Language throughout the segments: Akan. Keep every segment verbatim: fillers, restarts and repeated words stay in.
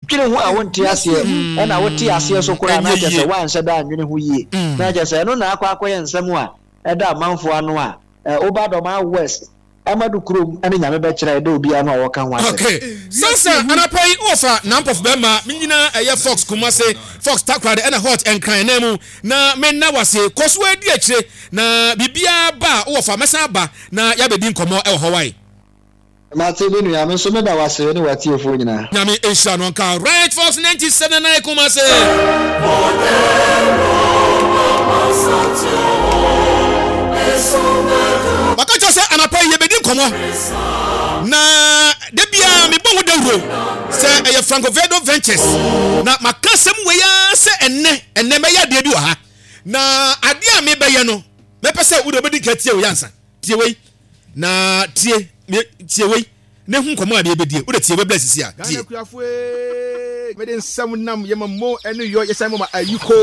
Wodwene ho a wonte aseɛ, ɛna wote aseɛ so koraa na Ɛnyɛ kyerɛ yie. sɛ woanhyɛ da anwene ho yie, na kyerɛ sɛ ɛno na akɔ akɔyɛ nsɛm a ɛda amanfoɔ ano a ɛ, woba Dɔmaa West ɛma kurom ɛne Nyame bɛkyerɛ ɛda obiara no a wɔka ho asɛm. Okay, sansa anapa yi wɔfa Nampɔfo bɛrima me nyinaa ɛyɛ Fox Kumase, Fox Takoradi ɛna Hot Nkran nan mu na menna wase. Kɔ so adi akyire na biribiara ba a wowɔfa mɛsan aba na yɛabɛdi nkɔmmɔ ɛwɔ hɔ wae. Mate, me nua. Me nso meda wase ne watiefoɔ nyinaa. Nyame nhyira no nka. Right, Fox ninety-seven nine Kumase. Maka kyerɛ sɛ anapa yi yɛbɛdi nkɔmmɔ na da biara mebɔ ho dawuro sɛ ɛyɛ Franco Vedo Ventures na maka asɛm wei ara sɛ ɛnnɛ ɛnnɛ mɛyɛ adeɛ bi wɔ ha, na adeɛ a mebɛyɛ no, mɛpɛ sɛ wode wobɛdi nka tie wei ansa. Tie wei na tie me- tie wei na hu nkɔmmɔ a mebɛdie. Wode tie wei blɛ sisi a tie. Ghana kuafo ee, mede nsɛm nam yɛma mo ɛne yɔ yɛsan mɔma ayiko.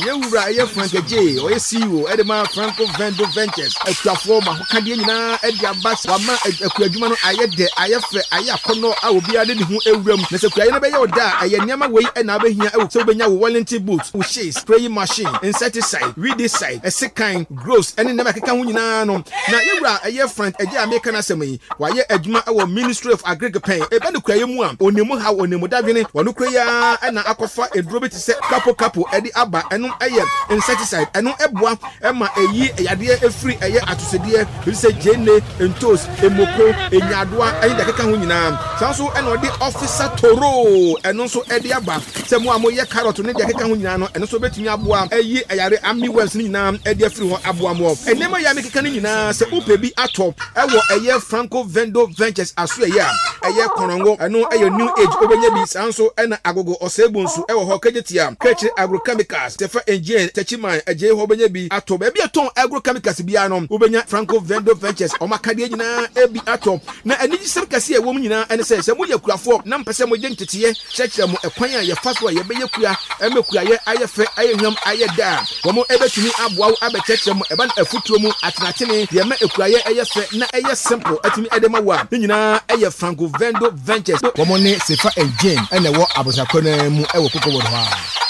Yɛwura ɛyɛ Frank Agye, ɔyɛ C E O ɛde ma Franco Vendo Ventures. Akuafoɔ ma ahokadeɛ nyinaa ɛde aba. Wama akua adwuma no ayɛ dɛ, ayɛ fɛ, ayɛ akɔnnɔ a obiara de ne ho ewura mu. Na sɛ kuayɛ no bɛyɛ ɔda a, ɛyɛ nneɛma wei ɛna abɛhia ɛwɔ sɛ wobɛnya wo Wellington boot, wo shears, spraying machine, insecticide, weedicide, ɛsekan, gloves ɛne nneɛma ɛkeka ho nyinaa no. Na yɛwura ɛyɛ Frank Agye a meka no asɛm yi, wayɛ adwuma ɛwɔ Ministry of Agric pɛn. Ɛbɛ no kuayɛ mu a, onimu haw, onimu dadwene. Wɔno kura yi ara ɛna akɔfa eduro bi te sɛ kapo kapo ɛde aba. Ɛno ɛyɛ insecticide, ɛno ɛboa ɛma ɛyi yadeɛ efiri ɛyɛ atosodeɛ bi sɛ gyeene, ntos, emoko, enyadoa ɛne deɛ ɛkeka ho nyinaa. Saa nso ɛna ɔde Officer Toro ɛno nso ɛde aba sɛ mo a moyɛ carrot ne deɛ ɛkeka ho nyinaa no, ɛno nso bɛtumi aboa ɛyi ɛyare armyworms ne nyinaa ɛde afiri hɔ aboa mo. Nneɛma yɛ a mekeka no nyinaa, sɛ wopɛ bi atɔ ɛwɔ ɛyɛ Franco Vendo Ventures aso, ɛyɛ a ɛyɛ Kɔnɔngo, ɛno ɛyɛ New Age, wobɛnya bi. Saa nso ɛna Agogo Ɔsɛebu nso ɛwɔ hɔ, Kegyetia Kɛkyire Agrochemicals, Tɛfɛ Engine, Tɛkyiman Agye hɔ, wobɛnya bi atɔ. Baabi a tɔn agrochemicals biara no, wobɛnya Franco Vendo Ventures ɔmo akadeɛ nyinaa ebi atɔ. Na anigyesɛm kɛseɛ a ɛwɔ mu nyinaa ɛne sɛ, sɛ moyɛ kuafoɔ na mpɛ sɛ mogye nteteeɛ kyerɛkyerɛ mo ɛkwan a yɛfa so a yɛbɛyɛ kua ɛmɛ kuayɛ ayɛ fɛ, ayɛ hwam, ayɛ da a, wɔn ɛbɛtumi aboa wo abɛkyerɛkyerɛ mo ɛba no afutuo mu atenatene deɛ ɛma ekuayɛ ɛyɛ fɛ na ɛyɛ simple ɛtumi ɛde ma wo a, ne nyinaa ɛyɛ Franco Vendo Ventures. Wɔn ne Sefa and Jane ɛna ɛwɔ abosakɔ no mu ɛwɔ Cocoa hɔ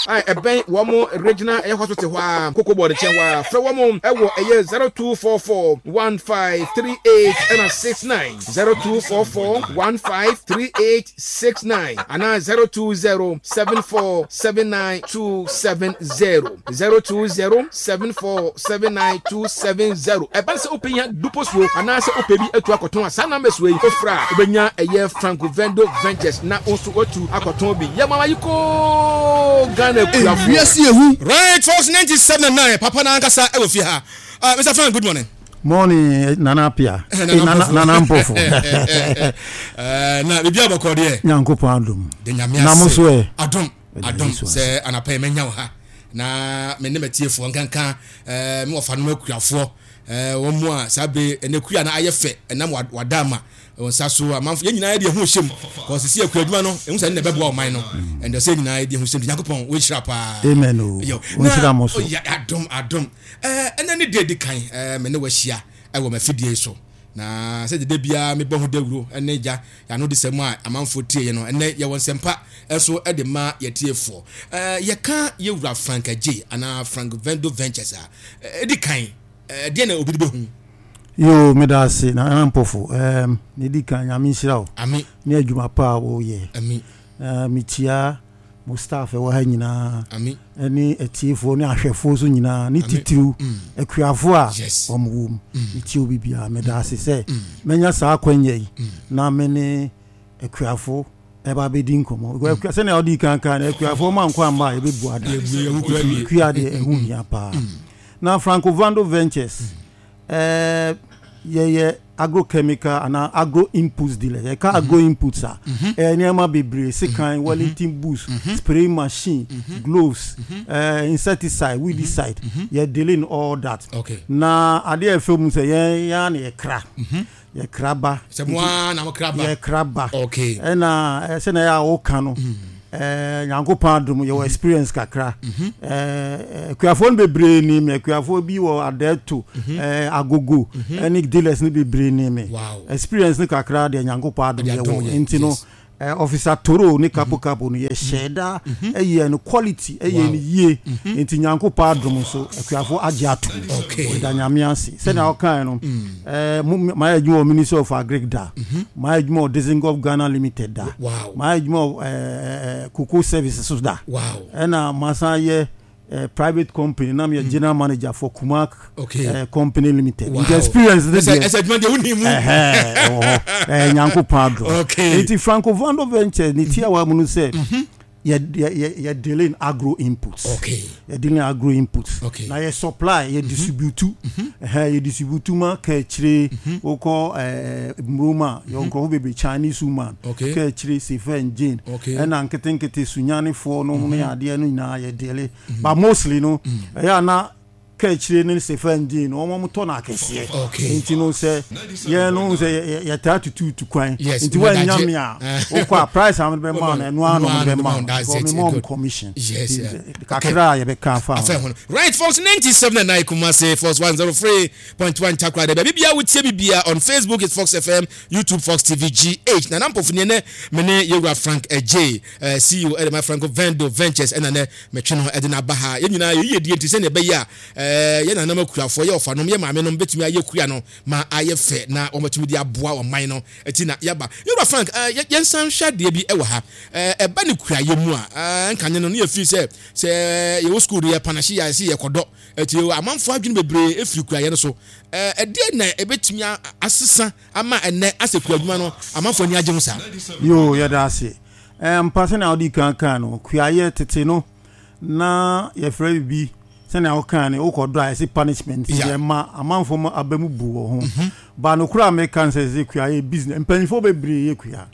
a a ɛbɛn wɔn regional ɛyɛ hospital hɔ a, Cocoa Board nkyɛn hɔ a. Frɛ wɔn ɛwɔ ɛyɛ zero two four four one five three eight ɛna six nine, zero two four four one five three eight six nine anaa zero two zero seven four seven nine two seven zero, zero two zero seven four seven nine two seven zero. Ɛbɛn sɛ wopɛ nya dupo suo anaasɛ wopɛ bi atu akɔtɔn a, saa numbers wei ofra a, wobɛnya ɛyɛ Franco Vendo Ventures na wo nso watu akɔtɔn bi. Yɛ mama yi koo Ghana kuafoɔ. Ewiase ehu. Right, Fox ninety-seven nine, papa na ankasa ɛwɔ fie ha. uh, Mister Frank, good morning. Morning, Nana Apia. Nana Eh, Nana Mpofo. Nana Mpofo. Eh, na biribi abɔkɔ deɛ? Nyankopɔn adom. De Nyame Na mo ase. so ɛ? Adom. Ɛda Adom. Yesu ase. Sɛ anapa yi mɛnya wo ha na me ne matiefoɔ nkanka eh, me wɔfa nom akuafoɔ eh, wɔn mu a saa bere ɛnɛ kua no ayɛ fɛ ɛnam wa- wada ama wɔn nsa so. Amanfo yɛn nyinaa yɛde ɛho hyɛ mu kɔsisi akua adwuma no ɛho sɛ ne na ɛbɛboa ɔman no ɛnna sɛ yɛn nyinaa yɛde ɛho hyɛ mu. Nyankopɔn wɔnhyira paa. Amen o. Yo, Wɔnhyira na mo so. oh, ya, adom adom. ɛɛ ɛnɛ ne deɛ di kan ɛɛ me ne wahyia ɛwɔ m'afidie yi so na sɛ dede biara mebɔ ho dawuro ɛne gya yɛano de sɛm a amanfoɔ tie yɛ no, ɛnɛ yɛwɔ nsɛmpa ɛnso ɛde ma yɛtiefoɔ. ɛɛ yɛka yɛwura Frank Agye anaa Frank Vendo Ventures a, ɛdi kan, ɛɛ deɛ na obi de bɛhu? Yo, meda ase, Nana Mpofo. Um, ne di kan, Nyame nhyira wo. Ami. Ne adwuma pa a woyɛ. Ami. Uh, mekyia mo staff ɛwɔ ha nyinaa. Ami. Ɛne atiefoɔ ne ahwɛfoɔ so nyinaa ne Ami. titiriw Mm. akuafoɔ a Yes. wɔn wɔ mu. Metie obi biara. Meda ase sɛ mɛnya saa akwanya yi na me ne akuafo ɛba bɛdi nkɔmmɔ. Because akua- sɛnea wode kan kan no, akuafoɔ ma nkɔ amba a yɛbɛbu ada. Yɛbu- yɛbu awie. Kua deɛ, ɛho hia paa. Na Franco Vando Ventures, ɛɛ yɛyɛ agrochemical anaa agro inputs dealer. Yɛka agro inputs a, ɛyɛ nneɛma bebree: sekan, Wellington boots, spray machine, gloves, ɛɛ insecticide, weedicide. Yɛ dealing all that. Okay. Na adeɛ a ɛfɛ mu sɛ yɛn yɛn na yɛkra yɛkra ba. Sɛ mo ara na mo kra ba? Yɛkra ba. Okay. Ɛna ɛ, sɛnea ɛyɛ a woka no, ɛɛ Nyankopɔn adom, yɛwɔ experience kakra. ɛɛ akuafoɔ no bebree ni mi. Akuafoɔ bi wɔ Adɛto, ɛɛ Agogo ɛne dealers no bebree ni mi. Wow. Experience no kakra deɛ, Nyankopɔn adom, Ɛde adom yɛwɔ yɛ, nti no yes. Eh, Officer Toro ne Kapo Kapo no, yɛhyɛ da ɛyɛ no quality, ɛyɛ no yie, nti Nyankopɔn adom so akuafoɔ agye ato. Okay. Ɔda Nyame ase. Sɛnea wɔkae no, eh, mo- mayɛ adwuma wɔ Ministry of Agric da, mayɛ adwuma wɔ Dizengoff Ghana Limited da, Wow. mayɛ adwuma wɔ eh, eh, Cocoa Services so da, Wow. ɛna masan yɛ eh, private company na meyɛ general manager for Kumak Okay. eh, Company Limited. Wow. Nti experience ne ɛsɛ deɛ ɛsɛ adwuma deɛ wonim mu. Ɛhɛ, ɛwɔ hɔ. Ɛyɛ Nyankopɔn adom. Okay. Nti Franco Vando Ventures ne tiawa mu no sɛ yɛ yɛ yɛ yɛ dealing agro inputs. Okay. Yɛ dealing agro inputs. Okay. Na yɛ supply, yɛ distribute, ɛhɛ, yɛ distribute ma kɛkyire wokɔ ɛɛ Muroma, yɛ nkurɔfo bebree, Chinese woman, Okay. kɛkyire Sefa and Jane, Okay. ɛna nketenkete Sunyanifoɔ no ne adeɛ no nyinaa yɛ deal, but mostly no, ɛyɛ ana kɛkyire ne Sefa and Jane no, wɔn tɔ no akɛseɛ. Okay. Nti no, sɛ yɛn no sɛ yɛ- yɛ- yɛtaa tututu kwan, Yes, nti wɔanya wɔdagye. me a, wokɔ a, price a mede bɛma wo no, ɛno ara na Ɛno ara ɔmode na bɛma wo, that's because it, mema good. ɔm commission. Yes, Nti, yeah. kakra a yɛbɛka afa ho. Afɛ ho no. Right, Fox ninety-seven and nine Kumasi, Fox one oh three point one Takoradi. Baabi bia wotie bi bia, on Facebook is Fox F M, YouTube Fox T V G H. Na nampofo ne ne me ne yɛwura Frank Adjei, eh, C E O ɛde ma Franco Vendo Ventures, ɛna nɛ metwe no ɛde n'aba ha. Yɛn nyinaa yɛyɛ die nti sɛnea ɛbɛyɛ a eh, yɛn nanam akuafoɔ, yɛ ɔfanom, yɛ maame nom bɛtumi ayɛ kua no ma ayɛ fɛ na wɔmatumi de aboa ɔman no ɛti na yɛaba. Yɛwura Frank, eh, yɛ- yɛnsan hwɛ adeɛ bi ɛwɔ ha. Eh, ɛba ne kuayɛ mu a, eh, nkane no ne yɛfiri sɛ sɛ yɛwɔ school no, yɛ panahye yɛ sɛ yɛkɔdɔ, ɛti amanfoɔ adwene bebree ɛfiri kuayɛ no so. Eh, ɛdeɛ na ɛbɛtumi a- asesa ama ɛnɛ asɛ kua adwuma no amanfoɔ ani agye ho saa? Yo, yɛda ase. Eh, mpa sɛnea wode kan kan no, kuayɛ tete no na yɛfrɛ bibi sɛnea wokaa no, wokɔdɔ a yɛsɛ punishment. Yeah. Yɛma amanfoɔ ma aba mu bu wɔ ho ba no kora. Meka no sɛ sɛ kuayɛ business, mpanyimfoɔ bebree yɛ kua.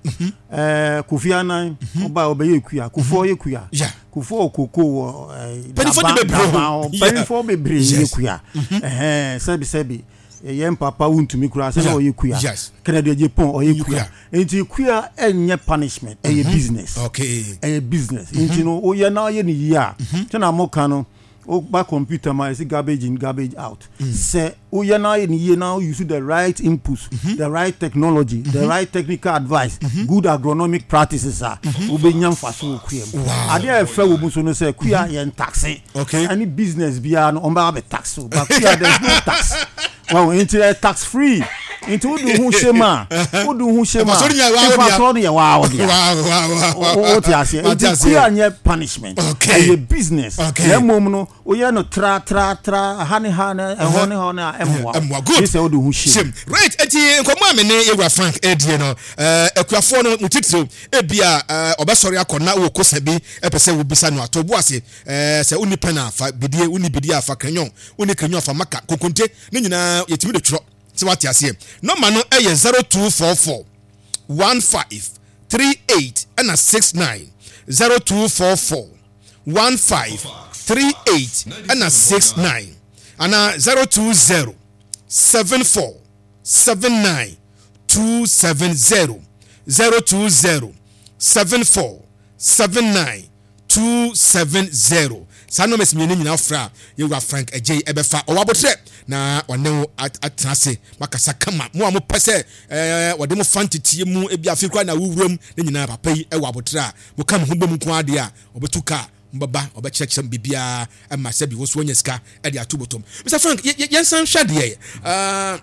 Eh, Kofi Annan ɔba a ɔbɛyɛ kua, Kufuor yɛ kua. Yeah. Kufuor koko wɔ eh, Mpanyimfoɔ de Daban- bebree hɔ. Daban hɔ. Yeah. Mpanyimfoɔ bebree yɛ Yes. kua. Ɛhɛn, sɛbi sɛbi, yɛn papa wontumi kura sɛ na Yeah. ɔyɛ kua. Yes. Kennedy Agyapong ɔyɛ kua. kua. Nti kua ɛnyɛ punishment, ɛyɛ business. Okay ɛyɛ business, nti no woyɛ na ɔyɛ ne yie a, sɛnea moka no, woba computer ma yɛsɛ garbage in, garbage out. Sɛ woyɛ na ɔyɛ ne yie na use the right inputs, the right technology, the right technical advice, good agronomic practices a, wobɛnya mfaso wɔ kua mu. Wow. Adeɛ a ɛfɛ wɔ mu so no sɛ kua yɛn tax. Okay. Ɛne business biara no, ɔmbɛba bɛ tax o, but kua, there is no tax. Well, nti ɛ tax free, nti wode wo ho hyɛ mu a, wode wo ho hyɛ mu a, Mfasoɔ no nyɛ waa wo dea. mfasoɔ no yɛ waa wo dea. Wow, wow, wow, wow. Wo te aseɛ? Wate Nti aseɛ. kua nyɛ punishment, Okay. ɛyɛ business. Okay. Na mmom no, woyɛ no tra tra tra ha ne ha ne ɛhɔ ne hɔ ne a, ɛmmoa. Ɛmmoa. Good. Gye sɛ wode ho hyɛ mu. Hyɛm. Right, eti nkɔmɔ a me ne yɛwura Frank ɛdie no, ɛɛ akuafoɔ no mo titiriw, ebia ɛɛ ɔbɛsɔre akɔ na wɔ kosa bi ɛpɛ sɛ wobisa no ato bo ase. ɛɛ sɛ wonni pɛn a, fa bidie, wonni bidie a, fa crayon, wonni crayon a, fa marker, kokonte ne nyinaa yɛtumi de twerɛ sɛ wate aseɛ. Nɔma no ɛyɛ zero two four four one five three eight ɛna six nine, zero two four four one five three eight ɛna six nine, ana zero two zero seven four seven nine two seven zero, zero two zero seven four seven nine two seven zero. Saa numbers mmienu nyinaa fra a, yɛwura Frank Agyei ɛbɛfa. Ɔwɔ abotire na ɔne wo at- atena ase makasa kama. Mo a mopɛ sɛ ɛɛ wɔde mo fa ntetie mu, ebi afi koraa na wowura mu ne nyinaa, papa yi ɛwɔ abotire a moka mo ho bɔ mu nko adeɛ a, ɔbɛtu kaa mbɛba, ɔbɛkyerɛkyerɛ mu biribiara ɛma sɛbi wo nso wanya sika ɛde ato bɔtɔm. Mister Frank, yɛ- yɛ- yɛnsan hwɛ adeɛ ɛɛ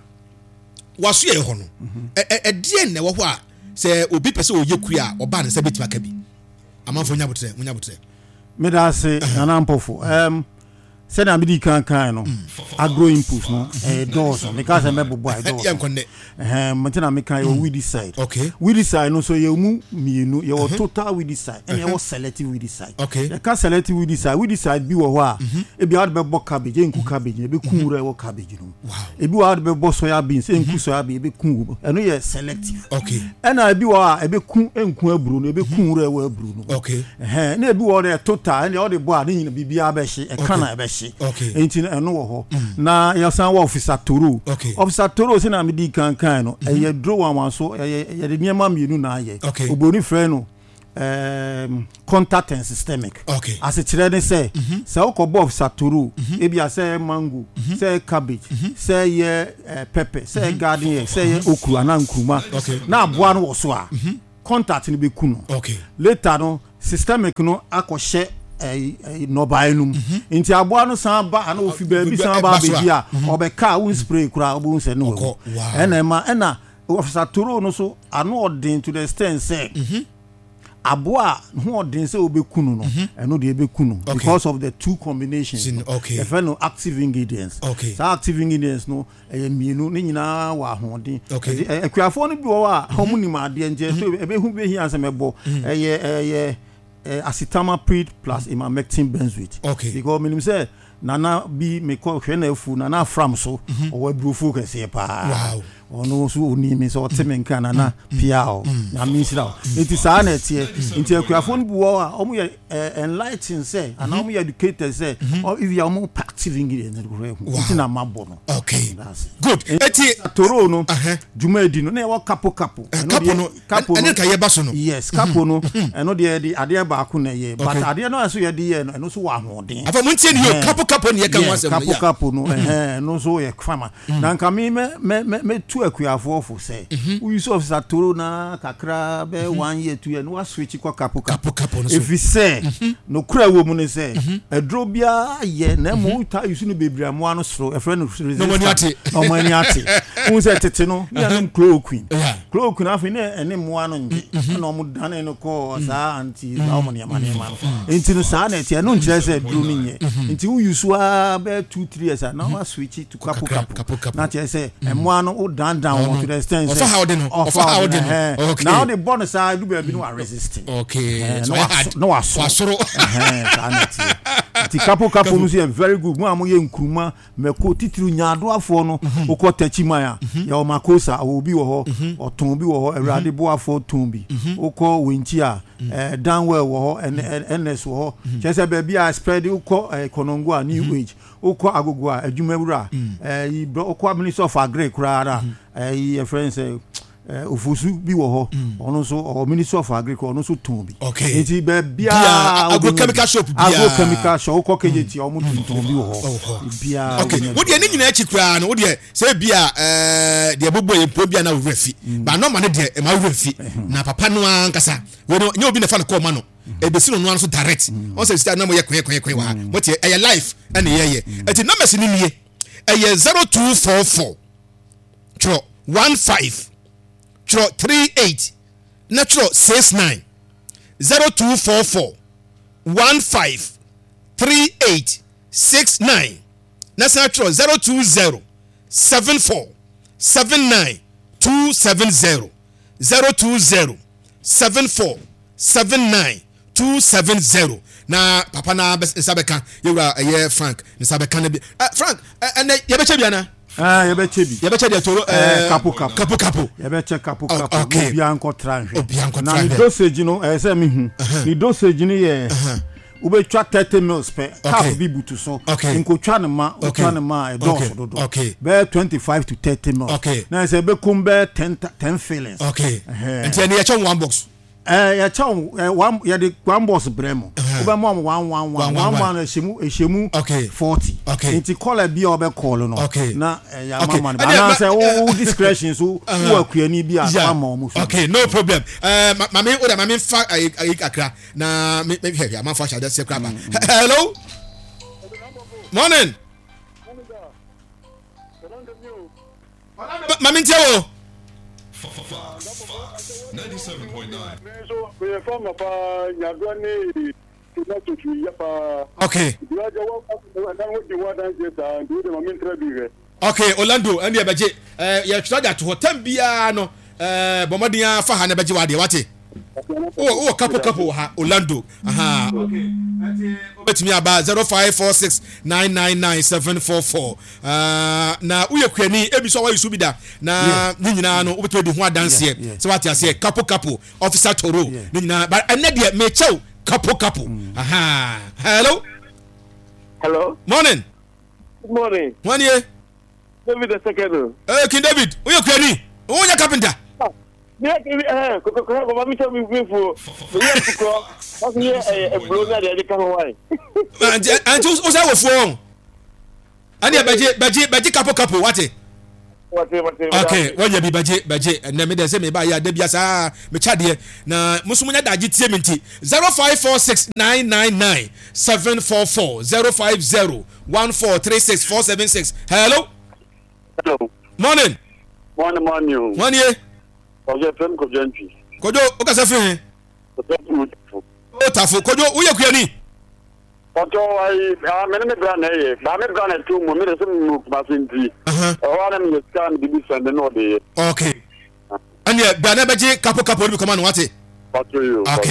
waso yɛ hɔ no, ɛ- ɛ- ɛdeɛ na ɛwɔ hɔ a sɛ obi pɛ sɛ ɔyɛ kua a, ɔbaa ne nsa bɛtumi aka bi? Amanfoɔ nya abotrɛ, nya abotrɛ. Meda ase, Nana Mpɔfo. um, sɛnea mede kan kan no, agro input no ɛyɛ dɔɔso. Meka sɛ mɛbobɔ a, ɛdɔɔso. Yɛnkɔ nnɛ. Ɛhɛn, nti na meka yɛwɔ weedicide. Okay. Weedicide no nso, yɛwɔ mu mmienu: yɛwɔ total weedicide ɛna yɛwɔ selective weedicide. Okay. Yɛka selective weedicide, weedicide bi wɔ hɔ a, ebi a wode bɛbɔ cabbage, ɛnku cabbage no, ɛbɛku wura ɛwɔ cabbage no mu. Wow. Ebi wɔ hɔ a wode bɛbɔ soya beans, ɛnku soya beans, ɛbɛku wo. Ɛno yɛ selective. Okay ɛna ebi wɔ hɔ a ɛbɛku, ɛnku aburo no, ɛbɛku wura ɛwɔ aburo no mu. Okay ɛhɛn, na ebi wɔ hɔ dɛ total, ɛnna ɔde bɔ a, ne nyina biribiara bɛhye, ɛka na ɛbɛhye. Okay. Nti no, ɛno wɔ hɔ. Na yɛsan wɔ Officer Toro. Okay. Officer Toro, sɛ na medi kankan no, ɛyɛ duro wanwan so, ɛyɛ yɛde nneɛma mmienu na ayɛ. Okay. Obroni frɛ no um, contact and systemic. Okay. Asekyerɛ ne sɛ, sɛ wokɔbɔ Officer Toro, ebi a sɛ ɛyɛ mango, sɛ ɛyɛ cabbage, sɛ ɛyɛ eh, pepper, sɛ ɛyɛ garden egg, sɛ ɛyɛ okro anaa nkuruma, Okay. na aboa no wɔ so a, Contact no bɛku no. Okay. Later no, systemic no akɔhyɛ ɛyi ɛyi nnɔbaeɛ no mu. Nti aboa no san ba ana ofi baabi san ba abɛdi a, ɔbɛka a won spray koraa, wobɛhu sɛ ne wawu. Ɛna ɛma ɛna Officer Toro no so ano ɔden to the extent sɛ aboa a ho ɔden sɛ wobɛku no no, ɛno deɛ ɛbɛku no because of the two combinations no. Yɛfrɛ no active ingredients. Saa active ingredients no ɛyɛ mmienu, ne nyinaa wɔ ahoɔden. Akuafoɔ no bi wɔ hɔ a wɔn nim adeɛ, nti ɛso ɛbɛhu bɛhia sɛ mɛbɔ ɛyɛ ɛyɛ acetamiprid plus emamectin benzoate. Because menim sɛ nana bi mekɔ hwɛ na afu nana afram so, ɔwɔ aburofuo kɛseɛ paa, ɔno nso ɔni mi sɛ ɔte me nka nana pia o, Nyame nhyira o. Nti saa na ɛteɛ. Nti akuafoɔ no bi wɔ hɔ a wɔn yɛ enlightened sɛ anaa wɔn yɛ educated sɛ if yɛ wɔn active ingredients no kora ehu nti na ma bɔ no. Okay, good. Eti toro no dwuma edi no na yɛwɔ kapo kapo. Kapo no, kapo no ɛne ka yɛ ba so no. Yes, kapo no ɛno deɛ yɛde adeɛ baako na ɛyɛ, but adeɛ no a ɛso yɛde yɛ no, ɛno nso wɔ ahoɔden. Afa mo ntie ni yɛ kapo kapo ni yɛ ka ho asɛm no. Kapo kapo no ɛhɛn ɛno nso yɛ fama. Na nka mi mɛ mɛ mɛ mɛ tu akuafoɔ fo sɛ woyi sɛ Officer Toro na kakra bɛ one year, two year no, wa switch kɔ kapo kapo. Kapo no so. Efi sɛ nokura wɔ mu ne sɛ aduro biara yɛ na emu ta yusu no bebree amoa no soro, ɛfrɛ no resistance, na ɔmo ani ate. N sɛ tete no ne yɛnom chloroquine, chloroquine afei ne ɛne mmoa no ngye, ɛna ɔmo dane no kɔɔ saa anti saa ɔmo nneɛma nneɛma no. Nti no saa na ɛteɛ. Ɛno nkyerɛ sɛ duro no nyɛ. Nti woyi so ara bɛyɛ two three years a, na wa switch to kapo kapo, na kyerɛ sɛ mmoa no wo dandan wɔn to the extent sɛ ɔfa ha ɔde no, ɔfa ha ɔde no. Na ɔde bɔ no saa edu baabi no wa resist na wasoro. Saa na ɛteɛ. Nti kapo kapo no nso yɛ very good mu a moyɛ nkuruma, mɛko, titiri nyaadoafoɔ no. Wokɔ Tɛkyiman a, yɛwɔ Makosa, ɔwɔ bi wɔ hɔ, ɔtɔn bi wɔ hɔ, Awurade boafoɔ tɔn bi. Wokɔ Wenkyi a, Danwell wɔ hɔ, N S wɔ hɔ, kyerɛ sɛ baabi a spread. Wokɔ Kɔnɔngo a, New Age. Wokɔ Agogo a, Adwumawura. Ɛyi, wokɔ Ministry of Agri koraa na ɛyi yɛfrɛ no sɛ Ofosu bi wɔ hɔ, ɔno nso ɔwɔ Ministry of Agri, ɔno nso tɔn bi. Nti baabiara agrochemical shop biara, agrochemical shop wokɔ K J T, ɔmo tontɔn bi wɔ hɔ biara. Okay, wo deɛ ne nyinaa akyi koraa no, wo deɛ sɛ ebi a ɛɛ deɛ bɔbɔ yɛ mpo bi a na wura fi ba nɔɔma no deɛ ɛma wura fi na papa no ankasa wɔn no nye obi na fa no kɔɔ ma no ebesi no noa no so direct. Wɔn sɛ sita na mo yɛ kɔɛ kɔɛ kɔɛ wɔ ha, mo te ɛyɛ live ɛna yɛyɛ. Ɛti numbers ni nie, ɛyɛ zero two four four, twerɛ one five, twerɛ three eight, na twerɛ six nine. zero two four four one five three eight six nine, na san twerɛ zero two zero seven four seven nine two seven zero. zero two zero seven four seven nine two seven zero. Na papa na nsa bɛka yɛwura ɛyɛ Frank nsa bɛka no bi. ɛ Frank, ɛnɛ yɛbɛkyɛ bi ana? Ah, yɛbɛkyɛ bi. Yɛbɛkyɛ deɛ toro. ɛɛ kapo kapo. Kapo kapo. Yɛbɛkyɛ kapo kapo. Okay. Obiara nkɔtra nhwɛ. Obiara nkɔtra Na ne nhwɛ. dosage no, ɛyɛ sɛ mehu ne dosage no yɛ wobɛtwa thirty mils pɛ, cup bi butu so. Okay. Nkotwa ne ma Okay. wotwa ne ma a, ɛdɔɔso dodo. Okay. Bɛyɛ twenty five to thirty mils. Okay. Na sɛ ɛbɛkum bɛyɛ ten ten fillings. Okay Ɛhɛn. Nti ɛne yɛkyɛ one box? Ɛɛ yɛkyɛ wo ɛ one, yɛde one box brɛ mu, wobɛma mo one one one One, one one, one, ɛhyɛ mu ɛhyɛ mu Okay. forty. Okay. Nti caller bi a ɔbɛ call no Okay. na ɛyɛ Okay. ama ma no Ɛdeɛ, anaasɛ ma- wo wo discretion so, wo akuani bi a Yeah. wama ɔmo so. Okay, no problem. ɛɛ ma maame o de, maame nfa ayi ayi kakra na me me hwɛ hwɛ amanfo ahyɛ adeɛ kora ba. Hello, morning. Maame ntie wo. ninety-seven point nine. Me nso meyɛ farmer paa, nyadoa ne tomato tumi yɛ paa. Okay nti wagya wɔ na wodi ho adanseɛ saa, nti wode ma mentra bi hwɛ. Okay, Orlando, ɛne yɛbɛgye ɛɛ yɛtwerɛ de ato hɔ tɛm biara no. ɛɛ bɔ mmɔden afa ha na bɛgye w'adeɛ wate. Wowɔ wowɔ kapo kapo wɔ ha, Orlando. Aha, okay, ɛnti wobɛtumi aba zero five four six nine nine nine seven four four na woyɛ kuani ebi so a wayi so bi da na ne nyinaa no wobɛtumi di ho adanseɛ Yeah, yeah. sɛ wate aseɛ. Kapo kapo, Officer Toro, Yeah. ne nyinaa but ɛnɛ deɛ mekyɛw kapo kapo. Aha, hello. Hello. Morning. Good morning. Wɔn nie? David the second. Ɛɛ King David, woyɛ kuani, wonyɛ carpenter? Mi yɛ kiri ɛɛ kɔkɔkɔ baba mi sɛ mi fi fo mi yɛ kukɔ wasu yɛ ɛɛ eburo na deɛ ɛde ka ho wa yi. Nti nti wosɛ wɔ fuo wɔn ɛne bɛgye bɛgye bɛgye kapo kapo wate. Okay, wɔnyɛ bi bɛgye bɛgye ɛnɛ mi dɛ sɛ mi ba yɛ ade bi asa mi kya deɛ na musu mu nya dagye tie mi nti zero five four six nine nine nine seven four four zero five zero one four three six four seven six. Hello. Hello. Morning. Morning, morning. Morning. Ɔyɛ fɛn Kojo Ntwi. Kojo o kasa firi hin. O tafo Kojo o yɛ kuyani. Ɔtɔ ayi mɛ ne mi bra na ɛyɛ ba mi bra na ɛtu mu mi de sɛ mi mu kumasi nti. Ɛhɔ ara mi yɛ sika mi de bi sɛn de n'o de ye. Ok ɛnni bia ne bɛ gye kapo kapo ne bi kɔma no wate. Ɔtɔ yi o. Ok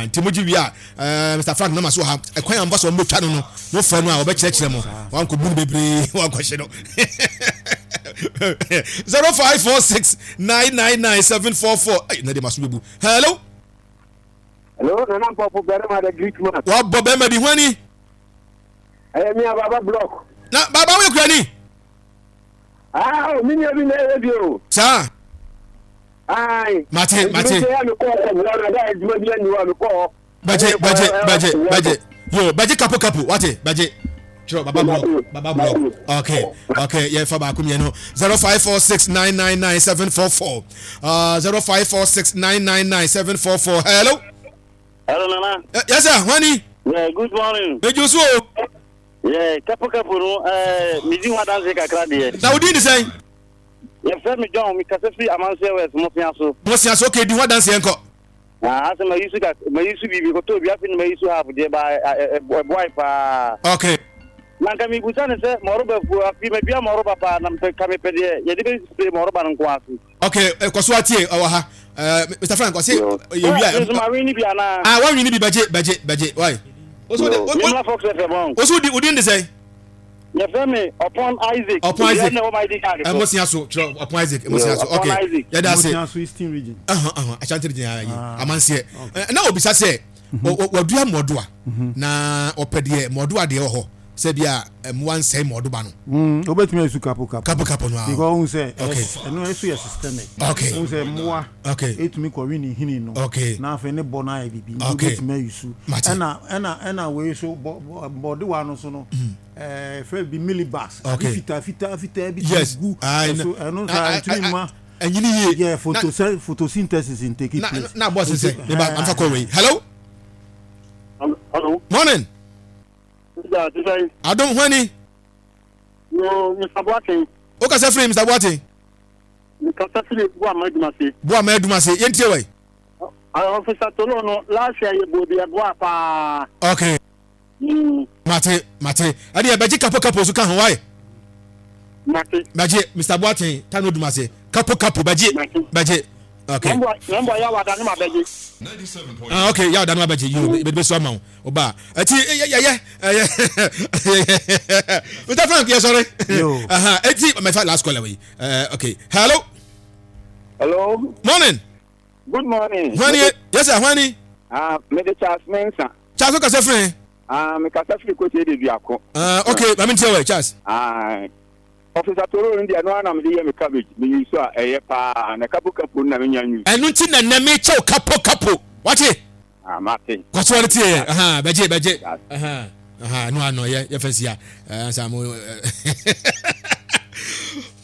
nti mo gye wia ɛɛ Mister Frank nama so ha ɛkwan yɛn nfa so wɔn bɛ twa no no mo fɛ no a wɔbɛ kyerɛkyerɛ mo wɔn akɔ bu no bebree wɔn akɔ hyɛ no. zero five four six nine nine nine seven four four ɛyi na de ma so bɛ bu. Hello. Hello, Nana Mpɔfo bɛrima the Greek man. Wabɔ bɛrima di hwani. Ɛyɛ mi a Baba Block. Na Baba wo yɛ kurani. Ah, o mi nua bi na ɛyɛ bi o. Saa. Ayi. Mate mate. Nti mi kɔ ɔkɔ buwa na da adwuma bi ani wa mi kɔ hɔ. Bɛgye bɛgye bɛgye bɛgye yo bɛgye kapo kapo wate bɛgye. Kyerɛ Baba Block Baba Block okay okay yɛn fa baako mmienu zero five four six nine nine nine seven four four uh zero five four six nine nine nine seven four four. Hello. Hello, Nana. Uh, yes, sir. Honey. Yeah, good morning. Mejo so. Yeah, kapo kapo no eh me di ho dance kakra de. Na odi ni sɛn? Ye fɛ me John me kasa fi Amansie West mo sia so. Mo sia so okay di ho dance enko. Ah, ase ma yusu ka ma yusu bibi ko to bi afi ma yusu half de ba e boy pa. Okay. Na nka mi busa ne sɛ moroba fu afi ma bia moroba pa na mpe ka me pe de ye de be spray moroba no nko ase. Okay, kɔ so atie ɔwɔ ha. Uh, Mister Frank, I say you are. Ah, one you need budget, budget, budget. Why? Also, the also the Udin say. You feel me? Upon Isaac. Upon Isaac. Emosiaso, upon Isaac. Emosiaso. Okay. Yeah, that's it. Emosiaso Eastern Region. Uh huh. Uh huh. Ashanti Region. Amansie. Na obisa say, wadua modua. Na opede modua de ho. Sɛ bia mmoa nsɛe mɔdoba no. Mm, obetumi asu kapo kapo. Kapo kapo no. Because who say okay. Ɛno ɛso yɛ systemic. Okay. Who say mmoa. Okay. Etumi kɔwe ne hini no. Okay. Na afei ne bɔ na ayɛ bibi. Okay. Obetumi ayusu. Ɛna ɛna ɛna wei so bɔ bɔdewa no so no. Eh fɛ bi millibars. Okay. Fita fita fita bi yes. Gu. So ɛno sa etumi ma. Ɛnyini yie. Yeah, photosynthesis photosynthesis in take place. Na na boss sɛ. Ne ba amfa kɔ wei. Hello. Hello. Morning. Adom hwani. Yo, Mister Boateng. O kasa firi Mister Boateng. Mi kasa firi Boama Edumase. Boama Edumase, yɛn tie wai. Officer Tolo no last year yɛ bo bi ɛboa paa. Okay. Mm. Mate, mate. Ɛdi ɛbɛgye kapo kapo so ka ho wai. Mate. Bɛgye Mister Boateng tano Edumase. Kapo kapo bɛgye. Bɛgye. Okay. Nambɔ ya wada ne ma bɛgye. Ah okay, ya wada ne ma bɛgye. Yo, bɛgye so ama wo. Oba. Ati ye ye ye. Mister Frank, yes sorry. Yo. Aha, ati my last caller we. Uh, okay. Hello. Hello. Morning. Good morning. Hwani, yes sir, hwani. Ah, me de Charles Mensah. Charles o kasa firi. Ah, me kasa firi ko te de duako. Ah, okay, ma me tie we Charles. Ah. Officer Toro ndi ano na me de ye me cabbage me yusu a eye pa na kapo kapo na me nya nyu. Enu nti na na me chew kapo kapo. Wate? Ah, mate. Kwaso ne tie. Aha, beje beje. Aha. Aha, no ano ye ye fensi ya. Eh sa mo.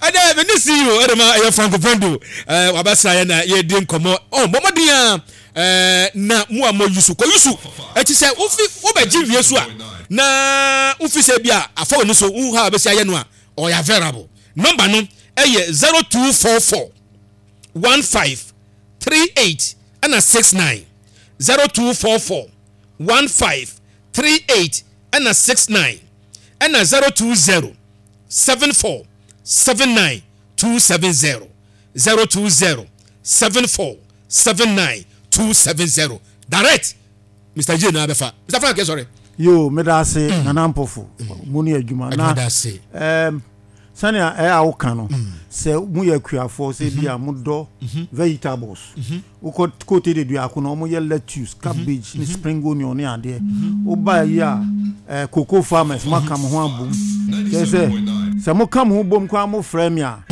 Ada me ni see you e ma ye Franco Vendo. Eh wabasa ye na ye di nkomo. Oh, momodin a eh na mu a mo yusu ko yusu. E ti se wo fi wo be ji wie so a na wo fi se bia afa woni so wo ha be se aye no a or you available. Number no eh zero two four four one five three eight and six nine. zero two four four one five three eight and six nine and zero two zero seven four seven nine two seven zero. zero two zero seven four seven nine two seven zero. Direct Mister J na abefa. Mister Frank, sorry. Yo, medase Nana Mpofo. Muni adwuma na. Um sania e a wo kan no se mu ye kuafo se bia mu do vegetables. Wo kote de duako no mo ye lettuce, cabbage, ni spring onion ni ade. Wo ba yi a cocoa farmers maka mo ho abom. Se se se mo ka mo ho bom kwa mo frɛ me a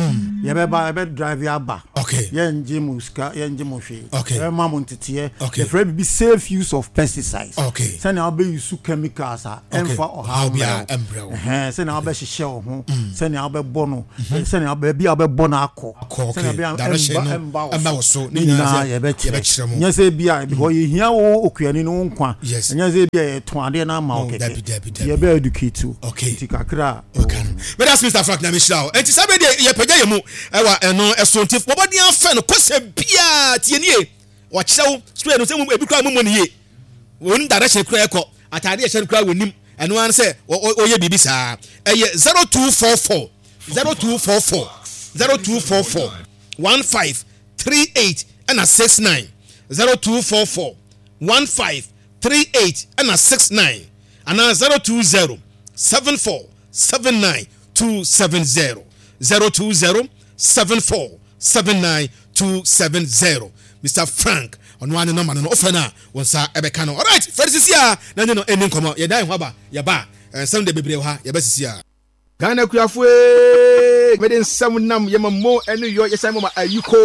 ye be ba ye be drive ya ba. Okay. Yɛngye mo sika, yɛngye mo hwee. Okay. Yɛbɛma mo nteteɛ. Okay. Yɛfrɛ biribi safe use of pesticides. Okay. Sɛnea wobɛ use chemicals a Okay. ɛmfa Ɔhaw ɔhaw biara mbrɛ ɛmbrɛ wo. wo. Ɛhɛn, sɛnea wobɛhyehyɛ wo ho, sɛnea wobɛbɔ no, sɛnea baabi a wobɛbɔ no akɔ. Akɔ, okay. Sɛnea ɛbɛyɛ a Direction ɛmba no ɛmba ɛmba wo wo so. so. Ne Ne nyinaa nyinaa sɛ yɛbɛkyerɛ. yɛbɛkyerɛ mo. Nyɛ sɛ bi a because yɛhia wo okuani no wo nkwa. Yes. Ɛnyɛ sɛ bi a yɛtɔn adeɛ no ama wo No, kɛkɛ. dabi, dabi, Nti dabi. yɛbɛ educate wo. Okay. Nti kakra a Okay. Meda ase Mr. Frank na mehyira wo. Enti saa bere deɛ yɛpagya yɛ mu ɛwɔ ɛno ɛso nti wɔbɔden afɛ no kɔsɛ biaa tie nie. Wɔkyerɛ wo spray no sɛ mu ebi koraa mu mmɔ ne yie. Wɔnim direction koraa ɛkɔ. Ataade ɛhyɛ no koraa wɔnim. Ɛno ara ne sɛ wɔ- wɔ- wɔyɛ biribi saa. Ɛyɛ zero two four four zero two four four zero two four four one five three eight ɛna six nine zero two four four one five three eight ɛna six nine anaa zero two zero seven four seven nine two seven zero zero two zero seven four seven nine two seven zero Mr. Frank ɔno ara ne nɔmba no no ɔfɛ no a wɔn nsa ɛbɛka no alright fɛre sisi a na ne no ɛni nkɔmɔ yɛda yɛn ho aba yɛba a nsɛm de bebree wɔ ha yɛbɛ sisi a. Ghana kuafo ee, mede nsɛm nam yɛma mo ɛne yɔ yɛsan mɔma ayiko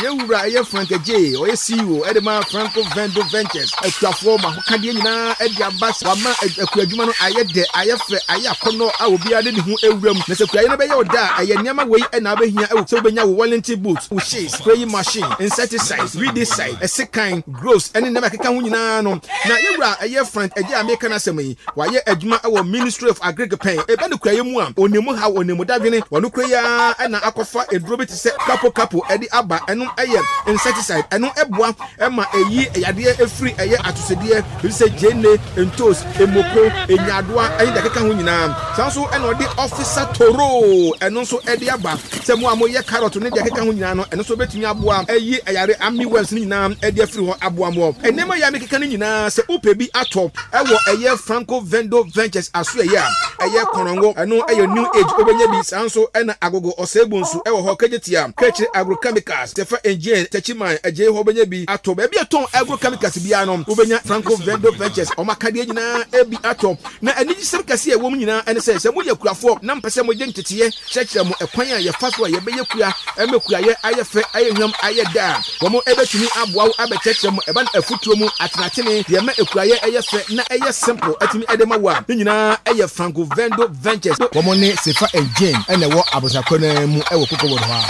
yɛwura ɛyɛ Frank Agye ɔyɛ C E O ɛde ma Franco Vendo Ventures akuafoɔ ma ahokadeɛ nyinaa ɛde aba wama akua adwuma no ayɛ dɛ ayɛ fɛ ayɛ akɔnnɔ a obiara de ne ho ewura mu na sɛ kuayɛ no bɛyɛ ɔda a ɛyɛ nneɛma wei ɛna abɛhia ɛwɔ sɛ wobɛnya wo Wellington boot wo shears spraying machine insecticide weedicide ɛsekan groves ɛne nneɛma ɛkeka ho nyinaa no na yɛwura ɛyɛ Frank Agye a meka no asɛm yi wayɛ adwuma ɛwɔ Ministry of Agric pɛn ɛbɛ no kuayɛ mu a onimu ha onimu dadwene wɔno kura yi ara ɛna akɔfa eduro bi te sɛ kapo kapo ɛde aba ɛno ɛyɛ insecticide ɛno ɛboa ɛma ɛyi yadeɛ efiri ɛyɛ atosodeɛ bi sɛ gyeene ntos emoko enyadoa ɛne deɛ ɛkeka ho nyinaa saa nso ɛna ɔde officer toro ɛno nso ɛde aba sɛ mo a moyɛ carrot ne deɛ ɛkeka ho nyinaa no ɛno nso bɛtumi aboa ɛyi ɛyare army worms ne nyinaa ɛde afiri hɔ aboa mo ɛnneɛma yɛ amekeka no nyinaa sɛ wopɛ bi atɔ ɛwɔ ɛyɛ Franco Vendo Ventures aso ɛyɛ a ɛyɛ kɔnɔngo ɛno ɛyɛ new age wobɛnya bi saa nso ɛna agogo ɔsɛebu nso ɛwɔ hɔ kejetia kɛkyire agrochemicals tɛfa engine tɛkyiman ɛgye hɔ wobɛnya bi atɔ baabi a ɛtɔn agrochemicals biara no wobɛnya Franco Vendo Ventures ɔmo akadeɛ nyinaa ebi atɔ na anigyesɛm kɛse a ɛwɔ mu nyinaa ɛne sɛ sɛ moyɛ kuafoɔ na mpɛ sɛ mogye nteteeɛ kyerɛkyerɛ mo ɛkwan a yɛfa so a yɛbɛyɛ kua ɛmɛ kuayɛ ayɛ fɛ ayɛ hwam ayɛ da a wɔn ɛbɛtumi aboa wo abɛkyerɛkyerɛ mo ɛba no afutuo mu atenatene deɛ ɛma ekuayɛ ɛyɛ fɛ na ɛyɛ simple ɛtumi ɛde ma wo a ne nyinaa ɛyɛ Franco Vendo Ventures wɔn ne Sefa and Jane ɛna ɛwɔ abosakɔ no mu ɛwɔ Cocoa Board hɔ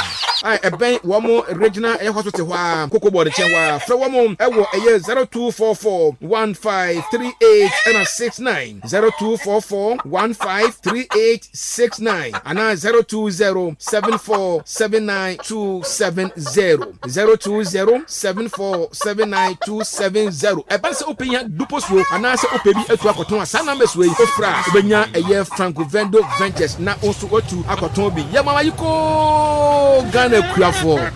a ɛbɛn wɔn regional ɛyɛ hospital hɔ a Cocoa Board nkyɛn hɔ a frɛ wɔn ɛwɔ ɛyɛ zero two four four one five three eight ɛna six nine zero two four four one five three eight six nine anaa zero two zero seven four seven nine two seven zero zero two zero seven four seven nine two seven zero ɛbɛn sɛ wopɛ nya dupo suo anaasɛ wopɛ bi atu akɔtɔn a saa numbers wei ofra a wobɛnya ɛyɛ Franco Vendo Ventures na wo nso watu akɔtɔn bi yɛ mama yi koo Ghana kuafoɔ.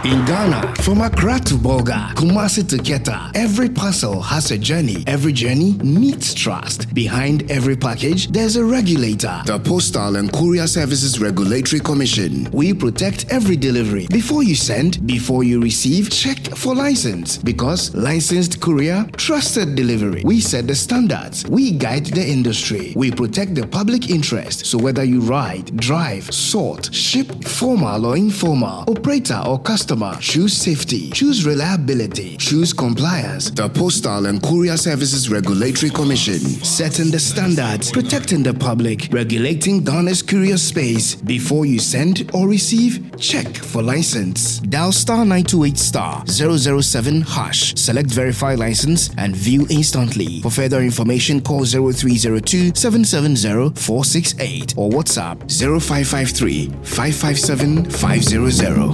In Ghana, from Accra to Bolga, Kumasi to Keta, every parcel has a journey. Every journey needs trust. Behind every package, there's a regulator. The Postal and Courier Services Regulatory Commission. We protect every delivery. Before you send, before you receive, check for license. Because licensed courier, trusted delivery. We set the standards. We guide the industry. We protect the public interest. So whether you ride, drive, sort, ship, formal or informal, operator or customer, choose safety, choose reliability, choose compliance. The Postal and Courier Services Regulatory Commission, setting the standards, protecting the public, regulating Ghana's courier space. Before you send or receive, check for license. Dial star nine two eight star zero zero seven hash. Select verify license and view instantly. For further information, call zero three zero two seven seven zero four six eight or WhatsApp zero five five three five five seven five zero zero.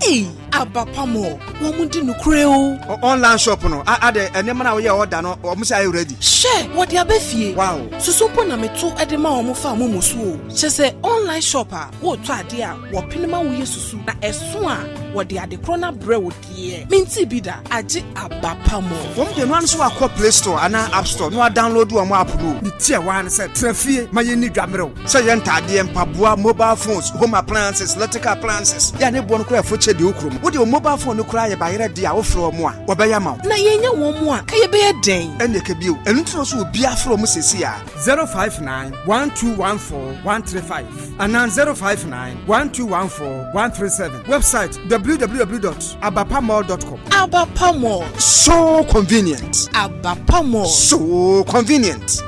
Hey, Abapamo, wɔn di nukure o. Online shop no, ade nneɛma na woyɛ order no, wɔn sɛ ayɛ ready. Hyɛ, wɔde aba fie. Wow. Susu mpo na meto de ma wɔn fa wɔn mu so o. Kyɛ sɛ online shop a wɔretɔ ade a wɔpene ma woyɛ susu na ɛso a Wɔde adekorɔ no abrɛ wo deɛ. Menti bi da, agye Abapa Mall. Wɔn deɛ no ano so akɔ Play Store anaa App Store na wadownload wɔn app no. Ne ti a waa ne sɛ tena fie ma yɛnni dwamerɛw. Sɛ yɛ ntaadeɛ, mpaboa, mobile phones, home appliances, electrical appliances. Yɛ a ne boɔ no koraa ɛfo kyɛ deɛ okurom. Wode wo mobile phone no koraa yɛ bayerɛ deɛ a wofrɛ wɔn a, wɔbɛyɛ ama wo. Na yɛnya wɔn mu a, ka yɛbɛyɛ dɛn? Ɛnneɛ ka bio. Ɛno nti na ɔsɛ obiara frɛ wɔn seesei a zero five nine one two one four one three five anaa zero five nine one two one four one three seven. Website w w w dot abapamall dot com. Abapa Mall. So convenient. Abapa Mall. So convenient.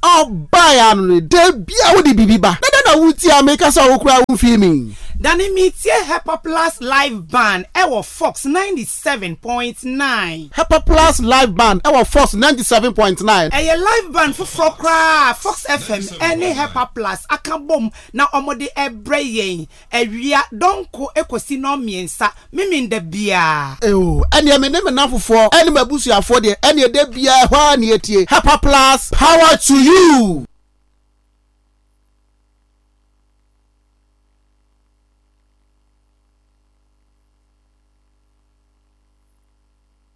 Ɔbaa ano no da bia wode biribi ba na da na wotie a meka sɛ wo koraa womfii me. Dane metie Hepa Plus Live Band ɛwɔ Fox ninety-seven point nine. Hepa Plus Live Band ɛwɔ Fox ninety-seven point nine. Ɛyɛ live band foforɔ koraa Fox F M ɛne Hepa Plus aka bom na ɔmode ɛbrɛ yɛn awia dɔnko ekosi nɔmmiɛnsa memenda biara. Eo, ɛneɛ me ne me namfofoɔ ɛne m'abusuafoɔ deɛ, ɛneɛ da biara ɛhɔ a ne yɛtie Hepa Plus. Power to you.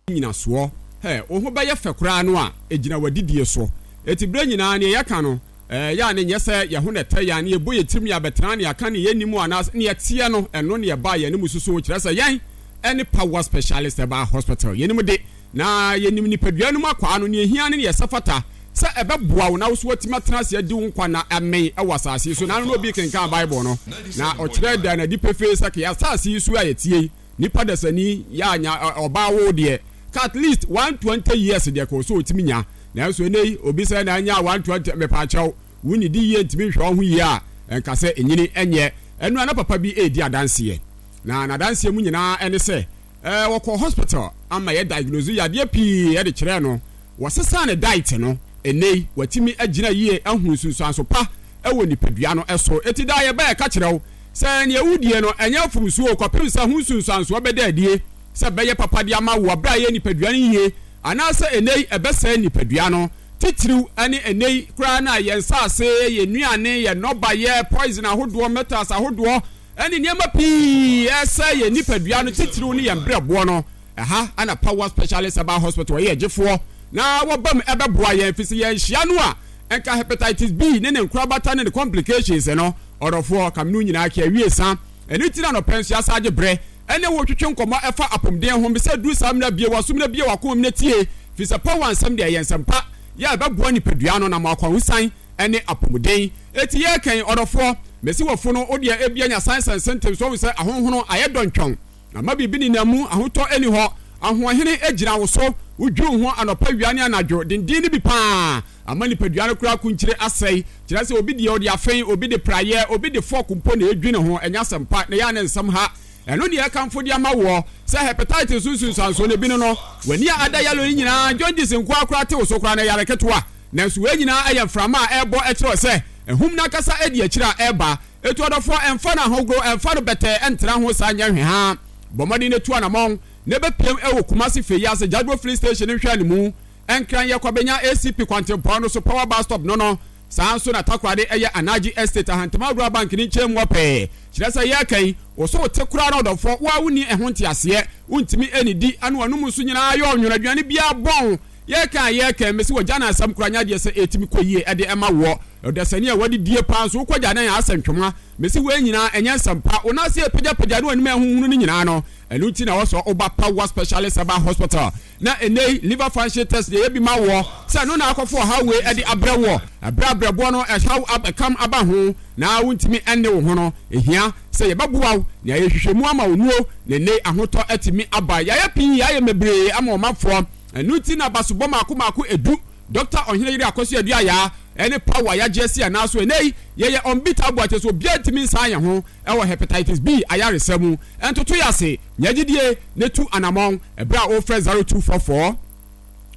Nyinasoɔ hɛ wo ho bɛyɛ fɛ koraa no a ɛgyina w'adidie so. Ɛti berɛ nyinaa neɛ yɛka no yɛ a ne nyɛ sɛ yɛ ho na ɛtɛ yɛn ne yɛbɔ yɛ tirim ne yɛabɛtena ne yɛaka ne yɛnnim anaasɛ ne yɛteɛ no. Ɛno ne yɛbaa yɛn anim susu kyerɛ sɛ yɛn ɛne Power Specialist Herbal Hospital yɛnim de na yɛnim nipadua no mu akwaa no ne ɛhia ne ne yɛsɛ fata sɛ ɛbɛboa wo na wo so watumi atena ase adi wo nkwa na ɛmɛn ɛwɔ asase yi so. Na ano na obi kenkan Bible no na ɔkyerɛ da n'adi pefee sɛ kɛ asase yi so a yɛtie yi, nipa dasani yɛ anya ɔbaa wo deɛ ka at least one twenty years deɛ kɔ so otumi nya. Nanso ɛnɛ yi obi sɛ na anya one twenty, mepaakyɛw, wonni di yie ntumi nhwɛ wo ho yie a ɛnka sɛ enyini ɛnyɛ ɛno. Ana papa bi edi adanseɛ na n'adanseɛ mu nyinaa ɛne sɛ ɛɛ wɔkɔ hospital ama yɛ diagnose yadeɛ pii ɛde kyerɛ no. Wɔsesa ne diet no, ɛnɛ yi watumi agyina yie ahu nsunsuanso pa ɛwɔ nipadua no ɛso. Eti daa yɛbɛ ɛka kyerɛ wo sɛ nea wudie no ɛnyɛ mfomsuo kɔpem sɛ ho nsunsuansoɔ bɛda adie sɛ bɛyɛ papa de ama wo abere a yɛ nipadua no yie anaasɛ ɛnɛ yi ɛbɛsɛe nipadua no. Titiriw ɛne ɛnɛ yi koraa na yɛn nsaase, yɛn nnuane, yɛn nnɔbayɛ, poison ahodoɔ, metals ahodoɔ ɛne nneɛma pii ɛsɛ yɛn nipadua no, titiriw ne yɛn brɛboɔ no. Ɛha ɛna Power Specialist Herbal Hospital ɛyɛ agyefoɔ na wɔbam ɛbɛboa yɛn fi sɛ yɛn hyia no a ɛnka hepatitis B ne ne nkorabata ne ne complications no. Ɔdɔfoɔ kam no nyinaa kɛ awie sa ɛno ti na nɔpɛ nso yɛasa agye berɛ ɛne wo twetwe nkɔmmɔ ɛfa apɔmuden ho. Bisɛ duru saa mmerɛ bie wasom na bie wakoma mu na tie fi sɛ power nsɛm deɛ ɛyɛ nsɛm pa yɛ ɛbɛboa nipadua no na mo akwahosan ɛne apɔmuden. Eti yɛ kɛn ɔdɔfoɔ mesi wɔfo no wodeɛ ebia nya signs and symptoms wɔn sɛ ahonhono ayɛ dɔntwɔn ama biribi nenam mu, ahotɔ ani hɔ, ahoɔhene gyina wo so, wodwiri wo ho anɔpa, wia ne anadwo denden no bi paa ama nipadua no koraa kunkyire asɛe. Kyerɛ sɛ obi deɛ ɔde afɛn, obi de praeɛ, obi de fork mpo na edwi ne ho. Ɛnyɛ asɛm pa na ɛyɛ ne nsɛm ha. Ɛno deɛ ɛkamfo de ama woɔ sɛ hepatitis so nsunsuansoɔ no bi no no w'ani a ada yellow no nyinaa, jaundice nko akora te wo so koraa na ɛyare ketewa. Nanso wei nyinaa ɛyɛ mframa a ɛrebɔ ɛkyerɛ sɛ ehum n'ankasa adi akyire a ɛreba. Etu ɔdɔfoɔ, ɛmfa no ahogoro, ɛmfa no bɛtɛɛ, ɛntena ho saa nyɛ hwɛ ha. Bɔ mmɔden na tu anamɔn na ɛbɛpiem ɛwɔ Kumasi Feyiase Jadwo Filling Station nhwɛ ne mu. Ɛnkran yɛ Kwabenya A C P kwantempɔn no so, Power Bus Stop no no saa nso na Takoradi ɛyɛ Anaji Estate, Ahantema Rural Bank ne nkyɛn mu ɔpɛɛ. Kyerɛ sɛ yɛreka yi wo so wote koraa na ɔdɔfoɔ wo a wonni ɛho nteaseɛ, wontumi ɛnidi ano anum nso nyinaa yɛ ɔnwono, aduane biara bɔn. Yɛreka a yɛreka mesi wɔ gya na asɛm koraa nyɛ adeɛ sɛ ɛtumi kɔ yie ɛde ɛma woɔ. Ɔdasani a wɔde die paa nso wokɔ gya nan a asɛ ntwoma. Mesi wei nyinaa ɛnyɛ nsɛm pa. Wo nan ase ɛpagyapagya ne w'anim a ɛhuhunu no nyinaa no, ɛno nti na wɔsɔ woba Power Specialist Herbal Hospital na ɛnɛ yi liver function test deɛ yɛbi ma woɔ sɛ ɛno na akɔfo ɔhaw wei ɛde abrɛ woɔ. Ɛbrɛ abrɛboɔ no ɛhaw ɛkam aba ho na wontumi ɛnne wo ho no, ɛhia sɛ yɛbɛboa wo nea yɛhwehwɛ mu ama wo nuo na ɛnɛ ahotɔ atumi aba. Yɛayɛ pii, yɛayɛ mebree ama ɔmanfoɔ. Ɛno nti na basobɔ maako maako edu Doctor Ɔhene Yere Akɔso Aduaya ɛne power yagye asi anaa so. Ɛnɛ yi yɛyɛ unbeatable akyɛ sɛ obiara ntumi nsan yɛn ho ɛwɔ hepatitis B ayaresa mu. Ɛntoto yɛ ase nyɛ gyidie ne tu anammɔn ɛberɛ a wɔfrɛ zero two four four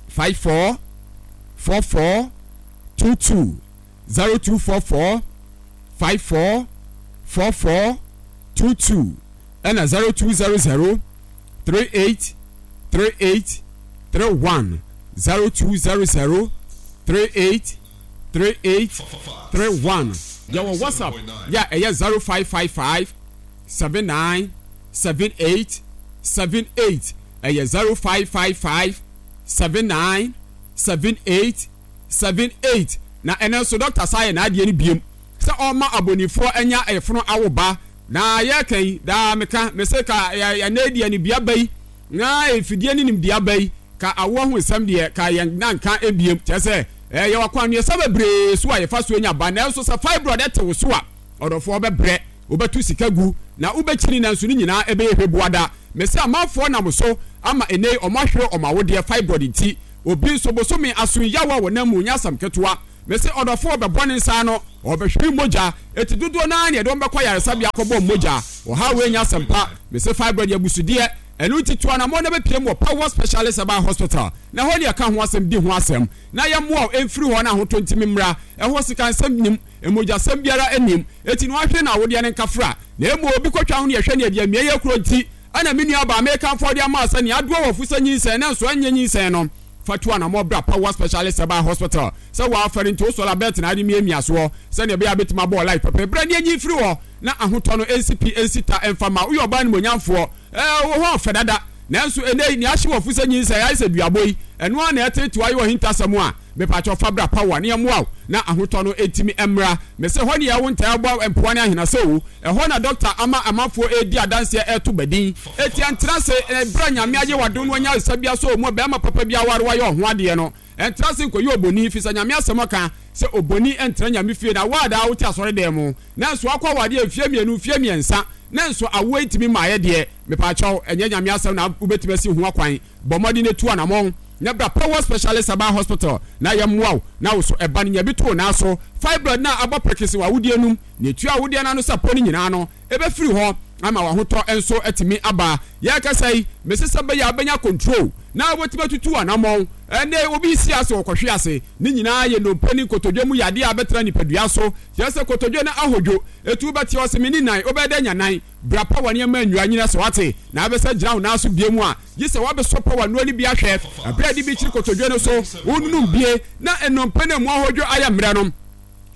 five four four four two two, zero two four four five four four four two two, ɛna zero two zero zero three eight three eight three one, zero two zero zero three eight three eight three one. Yɛwɔ WhatsApp yɛ a ɛyɛ zero five five five seven nine seven eight seven eight. Ɛyɛ zero five five five seven nine seven eight seven eight. Na ɛnɛ nso dɔkta saa yɛ n'adeɛ no biem sɛ ɔma abɔnifoɔ anya ɛfono awo ba. Na yɛka yi daa meka mese ka ɛnɛ deɛ ne bia ba yi na efidie ne nimdeɛ ba yi ka awoɔ ho nsɛm deɛ ka yɛn nanka ebiem kyerɛ sɛ ɛyɛ wakwannuasa bebree so a yɛfa so anya ba. Nanso sɛ fibroid ɛte wo so a, ɔdɔfoɔ bɛbrɛ, wobɛto sika gu na wobɛkyini, nanso ne nyinaa ɛbɛyɛ hwɛbuada. Mese amanfoɔ nam so ama ɛnɛ ɔmo ahwere ɔmo awodeɛ fibroid nti. Obi nso bosome aso yawa wɔ nam mu nyɛ asɛm ketewa. Mese ɔdɔfoɔ bɛbɔ ne nsa no, ɔbɛhwere mogya eti dodoɔ naa ne yɛde wɔn bɛkɔ yaresabea akɔbɔ mogya. Ɔha wei nyɛ asɛm pa. Mese fibroid yɛ abusudeɛ, ɛno nti to anammɔn na bɛpiem wɔ Power Specialist Herbal Hospital na ɛhɔ ne yɛka ho asɛm di ho asɛm na yɛmmoa wo ɛmfiri hɔ na ahotɔ ntimi mmra. Ɛhɔ sika nsɛm nim, mogyasɛm biara anim, eti na wahwere na awodeɛ ne nkafra na emu obi kɔtwa ho ne yɛhwɛ ne yɛde amia yɛ kuro nti ɛna me nua baa mekamfoɔ de ama sɛ nea adoɔ wɔ fo sɛ nyinsɛn na nso ɛnyɛ nyinsɛn no, fa to anammɔn bra Power Specialist Herbal Hospital sɛ wɔafɛre nti wosɔre abɛɛtena ade miamia soɔ sɛnea ɛbɛyɛ a bɛtumi abɔ life pɛpɛ berɛ ne anyi firi hɔ na ahotɔ no ɛnsi pi ɛnsi ta ɛmfa ma woyɛ ɔbaa nimonyamfoɔ. Ɛɛ wo ho ɔfɛ dada, nanso ɛnɛ yi nea ahye wɔ fo sɛ nyinsɛn ayɛ sɛ duabɔ yi, ɛno ara na ɛtetew ayɛ ɔhintasɛm a mepakyɛw fa bra Power ne ɛmmoa wo na ahotɔ no ɛntumi mmra. Mese hɔ ne yɛwo ntaa bɔ mpoa ne ahena sɛ o, ɛhɔ na dɔkta ama amanfoɔ ɛredi adanseɛ ɛreto badin. Eti ɛntena ase ɛberɛ a Nyame ayɛ w'adom no wanya nsa bi asɔ mu a bɛrima papa bi aware wayɛ ɔho adeɛ no. Ɛntena ase nkɔyɛ oboni, firi sɛ Nyame asɛm aka sɛ oboni ɛntena Nyame fie. Na wo a daa wote asɔredan mu nanso akɔ awadeɛ mfeɛ mmienu mfeɛ mmiɛnsa nanso awoɔ ntumi mmaeɛ deɛ, mepaakyɛw, ɛnyɛ Nyame asɛm na wobɛtumi asi ho akwan. Bɔ mmɔden na tu anammɔn na bra Power Specialist Herbal Hospital na yɛmmoa wo na wo so ɛba no nya bi to wo nan so. Fibroid no a abɔ prekese wɔ awodeɛ no mu na ɛtua awodeɛ no ano sɛ pɔ no nyinaa no, ɛbɛfiri hɔ ama w'ahotɔ nso atumi aba. Yɛrekasa yi, mese sɛ bɛyɛ a wobɛnya control na wobɛtumi atutu anammɔn. Ɛnɛ obi si ase wɔkɔhwe ase, ne nyinaa yɛ nnompe ne nkotodwe mu yadeɛ a bɛtena nipadua so. Kyerɛ sɛ kotodwe no ahodwo, ɛtu wobɛte ɔse me ne nan, wobɛyɛ dɛ nya nan. Bra Power nneɛma nnwura nyina sɛ wate na abɛsɛ gyina wo nan so bie mu a, gye sɛ woabɛsɔ Power nnuro no bi ahwɛ. Ɛberɛ a ɛde bi kyiri kotodwe no so, wonunum bie na nnompe no mu ahodwo ayɛ mmerɛ no,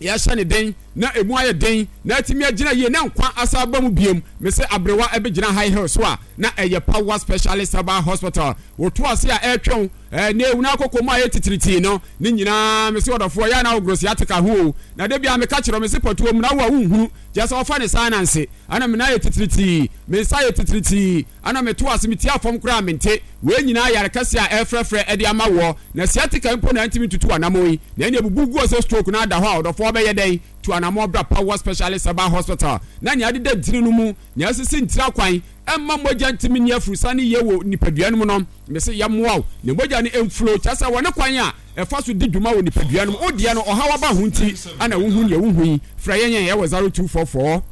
yɛhyɛ ne den na emu ayɛ den na atumi agyina yie na nkwa asa aba mu biem. Mese aberewa ɛbɛgyina high hill so a na ɛyɛ Power Specialist Herbal Hospital. Woto ase a ɛretwɛn ne ewu na akɔkɔ mu a ɛyɛ titiritii no ne nyinaa. Mese ɔdɔfoɔ yɛ na wogoro sciatica ho o, na da biara meka kyerɛ mese pɔtuo mu na wo a wonhunu kyerɛ sɛ wɔfa ne saa nanse ana me nan yɛ titiritii, me nsa yɛ titiritii, ana meto ase metia fam koraa mente. Wei nyinaa yare kɛse a ɛrefrɛfrɛ ɛde ama woɔ. Na sciatica mpo na ntumi ntutu anammɔn yi na ɛne ebubu guo sɛ stroke na ada hɔ a, ɔdɔfoɔ bɛyɛ dɛn? Tu anammɔn bra Power Specialist Herbal Hospital na nea adeda ntini no mu, nea asisi ntiri akwan ɛmma mogya ntumi nni afurusane yie wɔ nipadua no mu no, mese yɛmmoa wo na mogya no mflow, kyerɛ sɛ wɔ ne kwan a ɛfa so di dwuma wɔ nipadua no mu. Wo deɛ no ɔhaw aba ho nti ana wohu nea wohu yi. Frɛ yɛn yɛn ɛwɔ zero two four four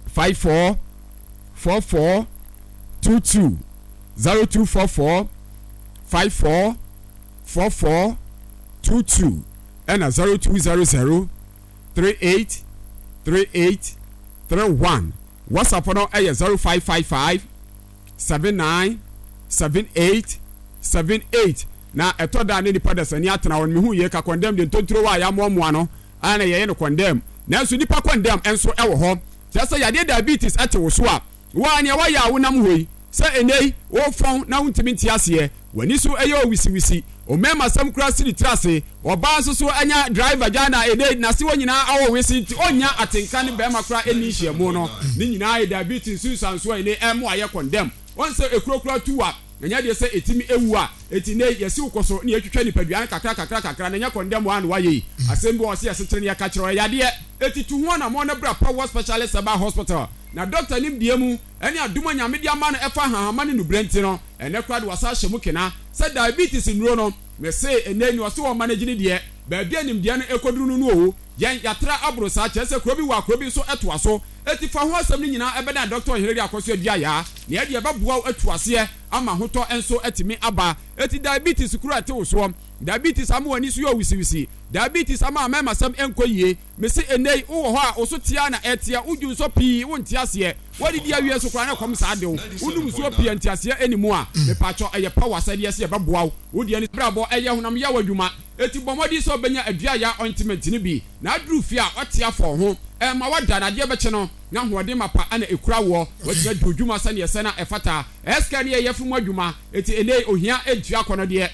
five four four four two two, zero two four four five four four four two two ɛna zero two zero zero three eight three eight three one. WhatsApp no ɛyɛ zero five five five seven nine seven eight seven eight. Na ɛtɔ da ne nipa dasani atena hɔ no, mehu yie ka condemn de ntontoro a yɛamoamoa no a na yɛyɛ no condemn, nanso nipa condemn nso ɛwɔ hɔ. Kyerɛ sɛ yadeɛ diabetes ɛte wo so a, wo a nea wayɛ a wonam hɔ yi sɛ ɛnɛ yi wofɔn na wontumi nte aseɛ, w'ani so ɛyɛ owisiwisi, ommarima sɛm koraa si ne tiri ase, ɔbaa nso so anya driver gya na ɛnɛ yi n'ase hɔ nyinaa awɔ wese nti ɔnnya atenka ne bɛrima koraa ɛnni nhyiamu no, ne nyinaa yɛ diabetes nsunsuansoɔ a ɛnɛ ɛmo ayɛ condemn. Wɔn sɛ ekuro koraa tu a ɛnyɛ deɛ sɛ ɛtumi ewu a, eti nnɛ yi yɛsi wokɔ so ne yɛtwitwa nipadua no kakra kakra kakra na ɛnyɛ condemn a na wayɛ yi. Asɛm bi wɔ hɔ sɛ yɛsekyere ne yɛka kyerɛ ɔyɛ yadeɛ, eti tu ho anammɔn na bra Power Specialist Herbal Hospital na dɔkta nimdeɛ mu ɛne adom a Nyame de ama no ɛfa ahahama ne nubrɛ nti no, ɛnɛ koraa de wasa ahyɛ mu kena sɛ diabetes nnuro no. Mese ɛnɛ yi nea ɔse wɔn manage ne deɛ, baabi a nimdeɛ no ɛkɔduru no no o, yɛn yɛatra aboro saa, kyerɛ sɛ kuro bi wɔ a kuro bi nso ɛtoa so. Eti fa ho asɛm no nyinaa ɛbɛdan Dɔkta Ɔheneri Akɔso Aduayaa na ɛde ɛbɛboa wo atu aseɛ ama ahotɔ nso atumi aba. Eti diabetes kuro a ɛte wo soɔ, diabetes ama w'ani so yɛ owisiwisi, diabetes ama amɛɛmasɛm ɛnkɔ yie, mese ɛnnɛ yi wowɔ hɔ a wo so tea na ɛteɛ, wodwu nsɔ pii wonte aseɛ, woadidi awie nso koraa na ɛkɔm saa de wo, wonom nsuo pii a nteaseɛ ɛnni mu a, mepaakyɛw ɛyɛ power sɛdeɛ sɛ yɛbɛboa wo, wo deɛ ne brabɔ ɛyɛ honam yaw adwuma, eti bɔ mmɔden sɛ wobɛnya Aduayaa ointment no bi na aduru fie a woate afɔ wo ho Ɛma wada na adeɛ bɛkye no na ahoɔden mapa ɛna ekura woɔ. Watumi adi odwuma sɛneɛ ɛsɛ na ɛfata. Ɛsika ne yɛ yɛfiri mu adwuma. Eti ɛnɛ yi ohia ntua akɔnɔ deɛ.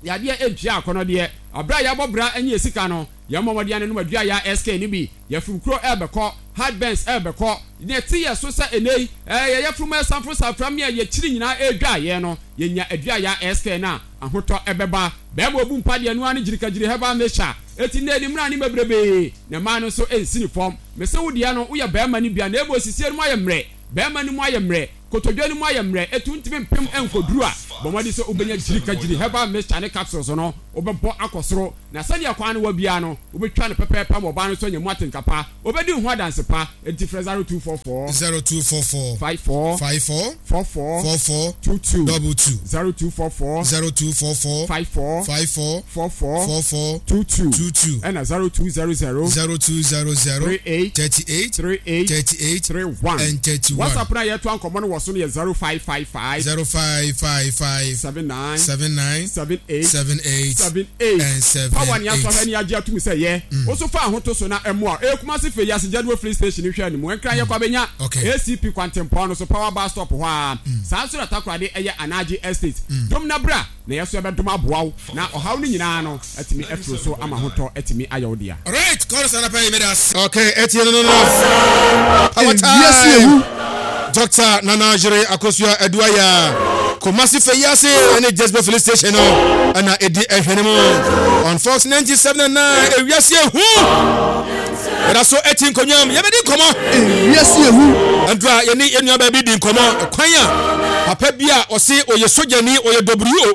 Yadeɛ ntua akɔnɔ deɛ. Abere a yɛabɔ bra ɛne yɛ sika no, yɛn mmɔ mmɔden anenom adua yɛ S K no bi. Yɛfiri kuro ɛɛbɛkɔ, heartburns ɛɛbɛkɔ. Nea ɛte yɛ so sɛ ɛnɛ yi, ɛɛ yɛ yɛfiri mu ɛsanforo safra me a yɛkyiri nyinaa ɛredwa yɛn no, yɛnya adua yɛ S K no a, ahotɔ ɛbɛba. Bɛɛma obu mpa deɛ ɛno ara ne gyirikagyiri herbal mixture. Eti nnɛ ne mmra ne bebrebee, na mmaa no nso nsi ne fam. Mese wo deɛ no, woyɛ bɛɛma no bi a, na mmom sisie no mu ayɛ mmerɛ, bɛɛma no mu ayɛ mmerɛ, kotodwe no mu ayɛ mmerɛ, etu ntumi mpem nkɔduru a, bɔ mmɔden sɛ wobɛnya gyirikagyiri herbal mixture ne capsules no, wobɛbɔ akɔ soro. Na sɛdeɛ kwan no wɔ biara no, wobɛtwa no pɛpɛɛpɛ ama ɔbaa no nso anya mu atenka pa. Ɔbɛdi wo ho adanse pa. Enti frɛ zero two four four. Zero two four four. Five four. Five four. Four four. Four four. Two two. Double two. Zero two four four. Zero two four four. Five four. Five four. Four four. Four four. Two two. Two two. Ɛna zero two zero zero. Zero two zero zero. Three eight. Thirty eight. Three eight. Thirty eight. Three one. And thirty one. WhatsApp na yɛto ankɔmɔ no wɔ so no yɛ zero five five five. Zero five five five. Seven nine. Seven nine. Seven eight. Seven eight. Seven eight. And seven Power ni eight. asɔhwɛ ni agye atum sɛ yɛ. Woso fa ahoto so na ɛmoa. Ɛyɛ Kumasi fɛ yi ase Jaduo filling station hwɛ ne mu. Ɛnkran yɛ kɔ abɛnya. Okay. A C P Kwantempɔn no so power bus stop hɔ a. Saa nso na Takoradi ɛyɛ Anagye Estate. Dom na bra na yɛ so ɛbɛdom aboa wo na ɔhaw no nyinaa no atumi afiri so ama ahotɔ atumi ayɛ wo dea. Alright, chorus anapa yi meda ase. Okay, etie no no no. Our time. Doctor Nana Jere Akosua Aduaya. Kumasi Feyase ɛne Jesbe Filling Station no ɛna edi ɛhwɛ ne mu. On Fox ninety-seven and nine ewiase ehu. Yɛda so ɛti nkonnwa mu yɛbɛdi nkɔmɔ. Ewiase ehu. Ndura yɛne yɛn nua baabi di nkɔmɔ kwan a papa bi a ɔse ɔyɛ sogyani ɔyɛ W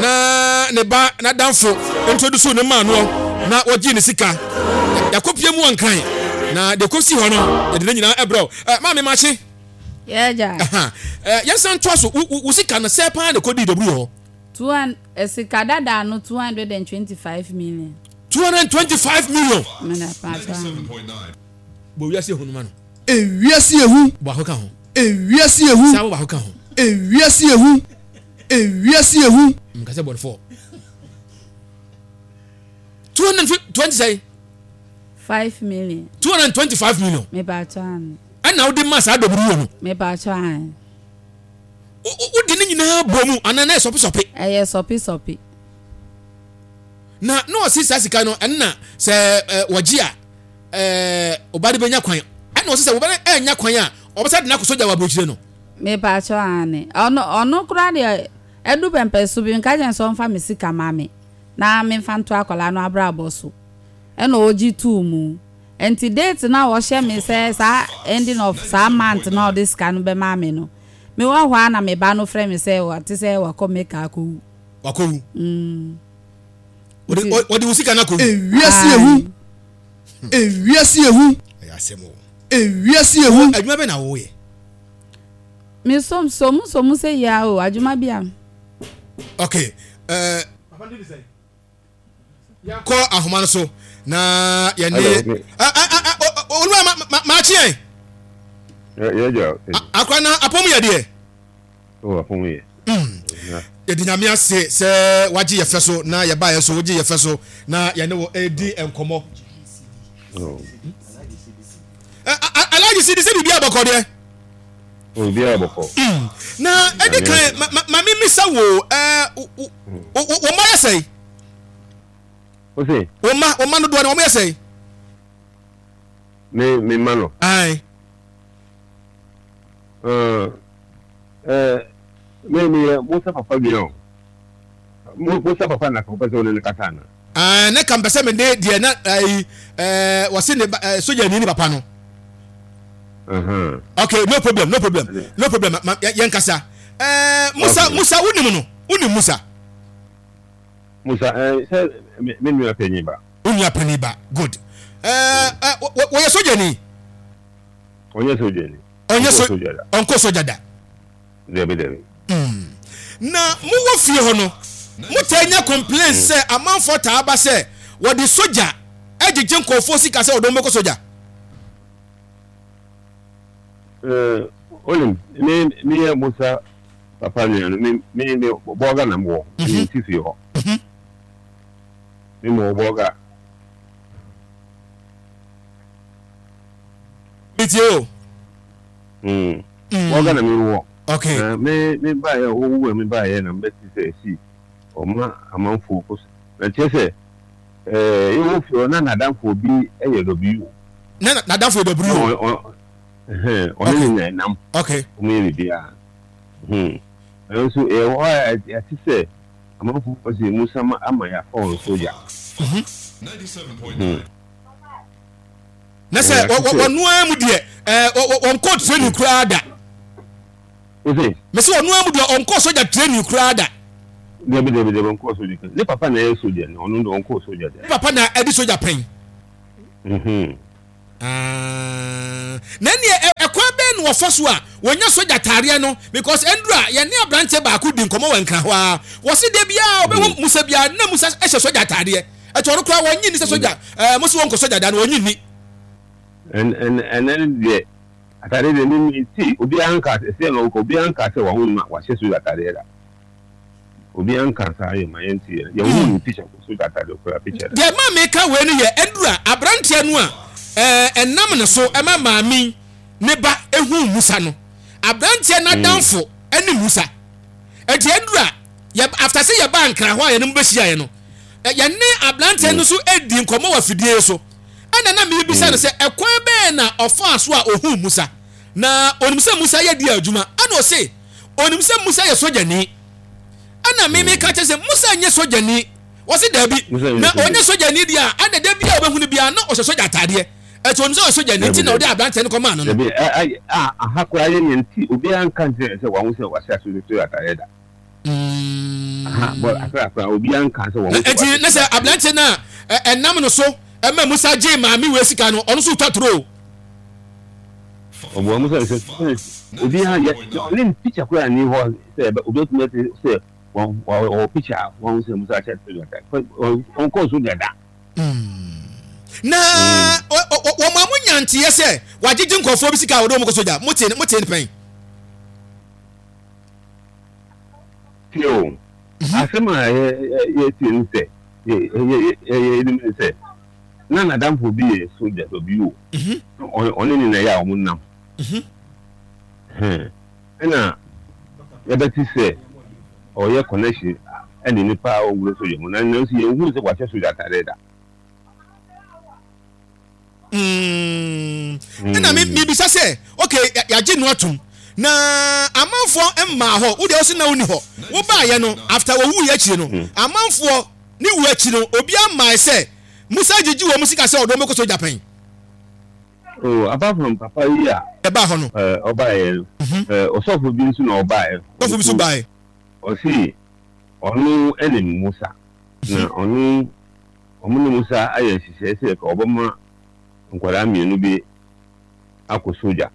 na ne ba n'adamfo introduce ne maa noɔ na wɔgye ne sika yakɔpie mu wɔnkran na deɛ kɔsi hɔ no yɛde ne nyinaa ɛbrɛ ɛ maame makye. Yɛgya. Ɛ yɛnsan toa so wo sika no sɛ paa na ɛkɔdii W hɔ. Two hundred sika dada no two hundred and twenty-five million. two hundred and twenty-five million. Mena paatwa. Bɔ wiase ehu no ma no. Ewiase ehu. Baako ka ho. Ewiase ehu. Sábà baako ka ho. Ewiase ehu. Ewiase ehu. Nkasa bɔ four. two hundred and twenty sɛn. Five million. two hundred and twenty-five million. Me paatwa ano. Ɛna wode ma saa dɔburu wɔ no. Me paatwa ano. Wode ne nyinaa bɔ mu anaa na yɛ sɔpe sɔpe. Ɛyɛ sɔpe sɔpe. Na na ɔsi saa sika no ɛnna sɛ wɔgye a ɛɛ ɔba de bɛnya kwan ɛnna ɔsi sɛ ɔba de ɛnya kwan a ɔbɛsa de n'akɔ sogya wɔ aburokyire no. Me paatwa ano ɔno ɔno koraa deɛ ɛdu pɛmpɛ so bi nka kyɛn sɛ ɔnfa me sika ma me na me nfa nto akwadaa no abrabɔ so ɛna ɔgye tuu mu nti date na ɔhyɛ me sɛ saa ending of saa month na ɔde sika no bɛma me no me wɔ hɔ a na me ba no frɛ me sɛ wɔte sɛ wakɔ meka akɔwu. Wakɔwu. Mm. Wɔde wo sika no akɔwu. Ewiase ehu. Ewiase ehu. Ɛyɛ asɛm o. Ewiase ehu. Adwuma bɛ na wɔyɛ. Me som som som sɛ yia o adwuma bi a. Okay. Uh, kɔ ahoma no so na yɛne olúwa maakye yɛn. Akora na apɔmu yɛ deɛ. Yɛde nyame ase sɛ wagye yɛ fɛ so na yɛba yɛ so wogye yɛ fɛ so na yɛne wɔ edi nkɔmɔ. Alhaji si di sɛ biribi abɔkɔ deɛ. Biribi abɔkɔ. Na ɛdi kan maame misa wo ɛɛ wo mma yɛ sɛn. Ose. Wo mma wo mma no doɔ no wɔn yɛ sɛn. Me me mma no. Ayi. Ɛɛ ɛɛ me me yɛ Musa papa bi o. Musa papa na kò pɛ sɛ ɔne ne kasa na. Ɛɛ ne kan pɛ sɛ me de deɛ na ɛyi ɛɛ wɔsi ne ba ɛɛ soja ni ne papa no. Okay, no problem, no problem, no problem. Ma yɛn kasa. Ɛɛ Musa Musa wunim no wunim Musa. Musa ɛɛ sɛ me nua panyin ba. Wo nua panyin ba, good. Ɛɛ ɛ wɔyɛ soja ni. Ɔnyɛ soja ni. Ɔnyɛ so ɔnkɔ soja da. Dɛbi dɛbi. Na mo wɔ fie hɔ no, mo taa nya complain sɛ amanfoɔ taa ba sɛ wɔde soja ɛgyegye nkɔfoɔ sika sɛ wɔde wɔn bɛkɔ soja. Ɛɛ olim me me yɛ Musa papa nua no me me me bɔga na mo wɔ me ti fie hɔ. Me mo bɔga. Metie o. Mm. Bɔga na mewɔ. Okay. Na me me baeɛ ɔwu a me baeɛ na mbɛte sɛ ɛsi ɔma amanfoɔ kɔ so. Na kyerɛ sɛ ɛɛ yɛwɔ fie hɔ na n'adamfoɔ bi yɛ W. Na n'adamfoɔ yɛ W. Ɛhɛn ɔne ne na ɛnam. Okay. Wɔn yɛ biribiara. Hmm. Nanso yɛwɔ hɔ a yɛate sɛ amanfoɔ sɛ Musa ma ama yɛafa wɔn sogya. Mhm. Na sɛ wɔn ara mu deɛ ɛɛ wɔnkɔ training koraa da. Mese wɔn ara mu deɛ ɔnkɔ sogya training koraa da. Dabi dabi dabi ɔnkɔ sogya. Ne papa na ɛyɛ sogya no ɔno deɛ ɔnkɔ sogya da. Ne papa na ɛdi sogya pɛn. Mhm. Ah, na ɛneɛ ɛkwan bɛn na wɔfa so a wɔnya sogya taareɛ no because ɛnduru a yɛne aberanteɛ baako di nkɔmmɔ wɔ Nkran hɔ a wɔse da biara ɔbɛhu mm. Musa biara na Musa hyɛ sogya ataadeɛ ɛti ɔno koraa wɔnyi ni sɛ sogya ɛɛ mo se wɔnkɔ sogya da no wɔnyi ni. Ɛnɛ deɛ ataadeɛ deɛ ne ti obiara nka sɛ na ɔkɔ obiara nka sɛ wɔn ma wɔahyɛ sogya ataadeɛ da. Obiara nka saa yɛ ma yɛn ti yɛ yɛn hu ne picture kɔ so data de kura picture. Deɛ ɛma meka wei no yɛ ɛduru a aberanteɛ no a ɛɛ ɛnam ne so ɛma maame ne ba ehu Musa no aberanteɛ n'adamfo ɛne Musa ɛti ɛduru a yɛ after sɛ yɛba Nkran hɔ a yɛne mo bɛhyia yɛ no yɛne aberanteɛ no so edi nkɔmɔ wɔ afidie so ɛna na mebisa no sɛ ɛkwan bɛn na ɔfaa so a ohuu Musa na onim sɛ Musa yɛ di adwuma ɛna ɔse onim sɛ Musa yɛ sogyani ɛna me meka kyerɛ sɛ Musa nyɛ sogyani wɔse daabi na ɔnyɛ sogyani deɛ a ɛna da bi a ɔbɛhu no biara na ɔhyɛ sogya ataadeɛ ɛti onim sɛ ɔyɛ sogyani nti na ɔde aberanteɛ no kɔmaa no no. Dabi aha koraa yɛ nea nti obiara nka nkyerɛ sɛ wahu sɛ wahyɛ asogya ataadeɛ da. Aha bɔ akra akra obiara nka sɛ wahu sɛ ɛti ne sɛ aberanteɛ no a ɛnam no so ɛma Musa gyee maame wei sika no ɔno nso twa toro. Ɔboa mu sɛ sɛ obiara yɛ ɔne ne picture koraa ni hɔ sɛ obi atumi ate sɛ wɔwɔ picture a wɔn sɛ Musa ahyɛ sogya ɔnkɔɔ sogya da. Na wɔn a mo nya nteɛ sɛ wagyegye nkurɔfoɔ bi sika a wɔde wɔn kɔ sogya mo te mo te pɛn. Tie o, asɛm a yɛtie ne sɛ yɛnim ne sɛ na n'adamfo bi yɛ sogya bi o ɔne ne na ɛyɛ a wɔn nam ɛna yɛbɛte sɛ ɔyɛ connection ɛne nipa a ɔwura sogya mu na nanso yɛn hu sɛ wahyɛ sogya atadeɛ da. Ɛna me mebisa sɛ okay yɛagye no atom na amanfoɔ mmaa hɔ wo deɛ wo se na wonni hɔ wobaayɛ no after wɔwuiɛ akyire no amanfoɔ ne wu akyi no obiara mmae sɛ Musa gyegye wɔn sika sɛ ɔde wɔn bɛkɔ sogya pɛn. Oh, apart from papa yi a ɛbaa hɔ no, ɔbaeɛ no, ɔsɔfo bi nso na ɔbaeɛ. Ɔsɔfo bi nso baeɛ. Ɔse ɔno ne Musa, na ɔno ɔmo ne Musa ayɛ nhyehyɛe sɛ ka ɔbɛma nkwadaa mmienu bi akɔ sogya.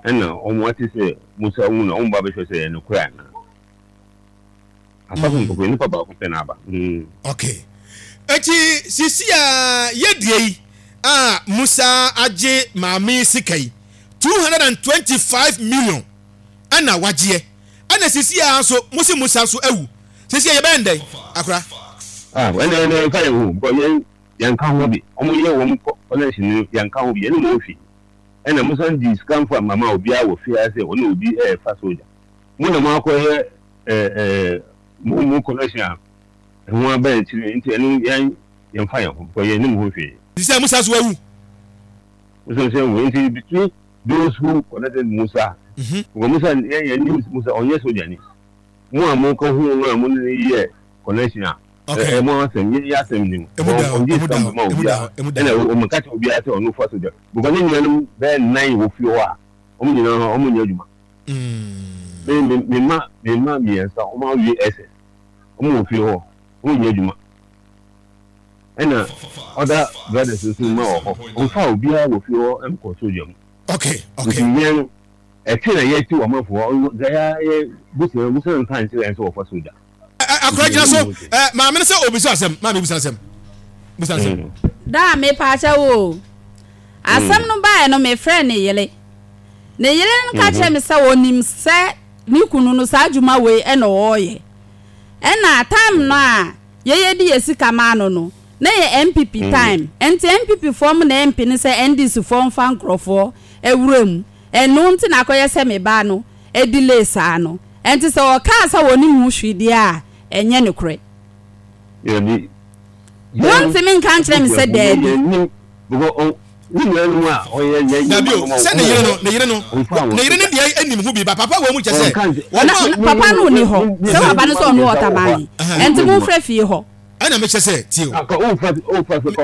Ɛna ɔmo ate sɛ Musa wu na ɔmo ba bɛhwɛ sɛ ɛyɛ nokorɛ anaa. Asɔfo mpɔpɔ nipa baako pɛ na aba. Okay. Eti sisi a yɛdie yi a Musa agye maame sika yi two hundred and twenty five million ɛna wagyeɛ ɛna sisi a nso mo se Musa nso awu sisi a yɛbɛyɛ ndɛn akora. Ah ɛna ɛna nfa yɛn ho because yɛn yɛn ka ho bi wɔn yɛ wɔn connection no yɛn ka ho bi yɛn ne wɔn fi ɛna Musa di sika nfa mama obiara wɔ fie ase ɔne obi ɛɛfa soja mo na mo akɔyɛ ɛɛ ɛɛ mo mo connection a ɛho aba akyire nti ɛno yɛn yɛn fa yɛn ho because yɛn nim ho hwee. Sisi a Musa nso awu. Musa nso awu nti between those who connected Musa mm-hmm. because Musa yɛn yɛn nim Musa ɔnyɛ soja ni mo a mo ka ho no a mo ne yɛ connection a ɛ mo asɛm yɛn yɛ asɛm ni mu ɔngye sika mo ma obiara ɛna ɔmo ka kyerɛ obiara sɛ ɔno fa soja because ne nuanom bɛyɛ nnan wɔ fie hɔ a wɔn nyinaa wɔn nyɛ adwuma. Me me me mma me mma mmiɛnsa wɔn awie S S wɔn wɔ fie hɔ wɔn nyɛ adwuma ɛna other brothers nso mma wɔ hɔ wɔn fa obiara wɔ fie hɔ nkɔ sogya mu. Okay okay. Nti yɛn ɛte na yɛte wɔn afɔ hɔ yɛ yɛ busua busua nka nkyerɛ yɛn sɛ wɔfa sogya. Akora gyina so ɛ maame no sɛ obisa asɛm maame bisa asɛm bisa asɛm. Daa mepaakyɛ wo o asɛm no baeɛ no mefrɛ ne yere. Ne yere no ka kyerɛɛ me sɛ ɔnim sɛ ne kunu no saa adwuma wei na ɔreyɛ. Ɛna time no a yɛyɛ de yɛ sika maa no no, na ɛyɛ N P P time. Nti N P P foɔ mo na ɛmpene sɛ N D C foɔ mfa nkorɔfoɔ awura mu. Ɛno nti na akɔyɛ sɛ me ba no delay saa no. Ɛnti sɛ ɔkaa sɛ ɔnim ho hwee deɛ a, ɛnyɛ nokorɛ. Dabi. Wontumi nka nkyerɛ me sɛ daabi. Dabi o, sɛ ne yere no, ne yere no, ne yere no deɛ anim ho bi, ba papa wɔ mu kyɛ sɛ wɔn a. Papa no nni hɔ, sɛ papa no sɛ ɔno wɔ Tamale, ɛnti momfrɛ fie hɔ. Ɛna mekyɛ sɛ tie o.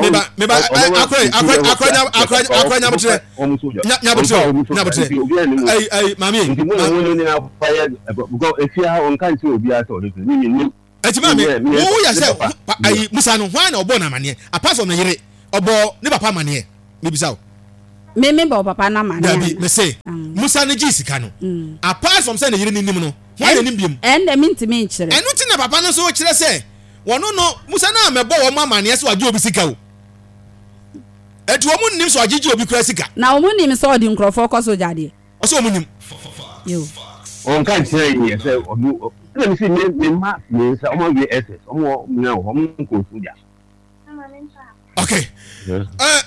Meba meba akora akora akora akora akora nyabotrɛ nyabotrɛ nyabotrɛ ayi ayi maame yi. Ɛti maame wo yɛ sɛ ayi Musa no hwan na ɔbɔ no amaneɛ apart from ne yere ɔbɔ ne papa amaneɛ mebisa o. Me me bɔ papa no amaneɛ. Dabi me se Musa no gye sika no apart from sɛ ne yere no nim no hwan na nim biom. Ɛnde mentumi nkyerɛ. Ɛno ti na papa no nso kyerɛ sɛ wɔno no Musa no amɛbɔ wɔn amaneɛ sɛ wagye obi sika o. Ɛti wɔn nnim sɛ wagyegye obi kura sika. Na wɔn nim sɛ ɔde nkurɔfoɔ kɔ sogya deɛ. Ɔsɛ wɔn nim. Yo. Ɔnka nkyerɛ yɛ sɛ ɔno ɛna mi si me me mma mmiɛnsa wɔn awie S S wɔn wɔ nyina wɔ hɔ wɔn nkɔ sogya. Okay. Uh,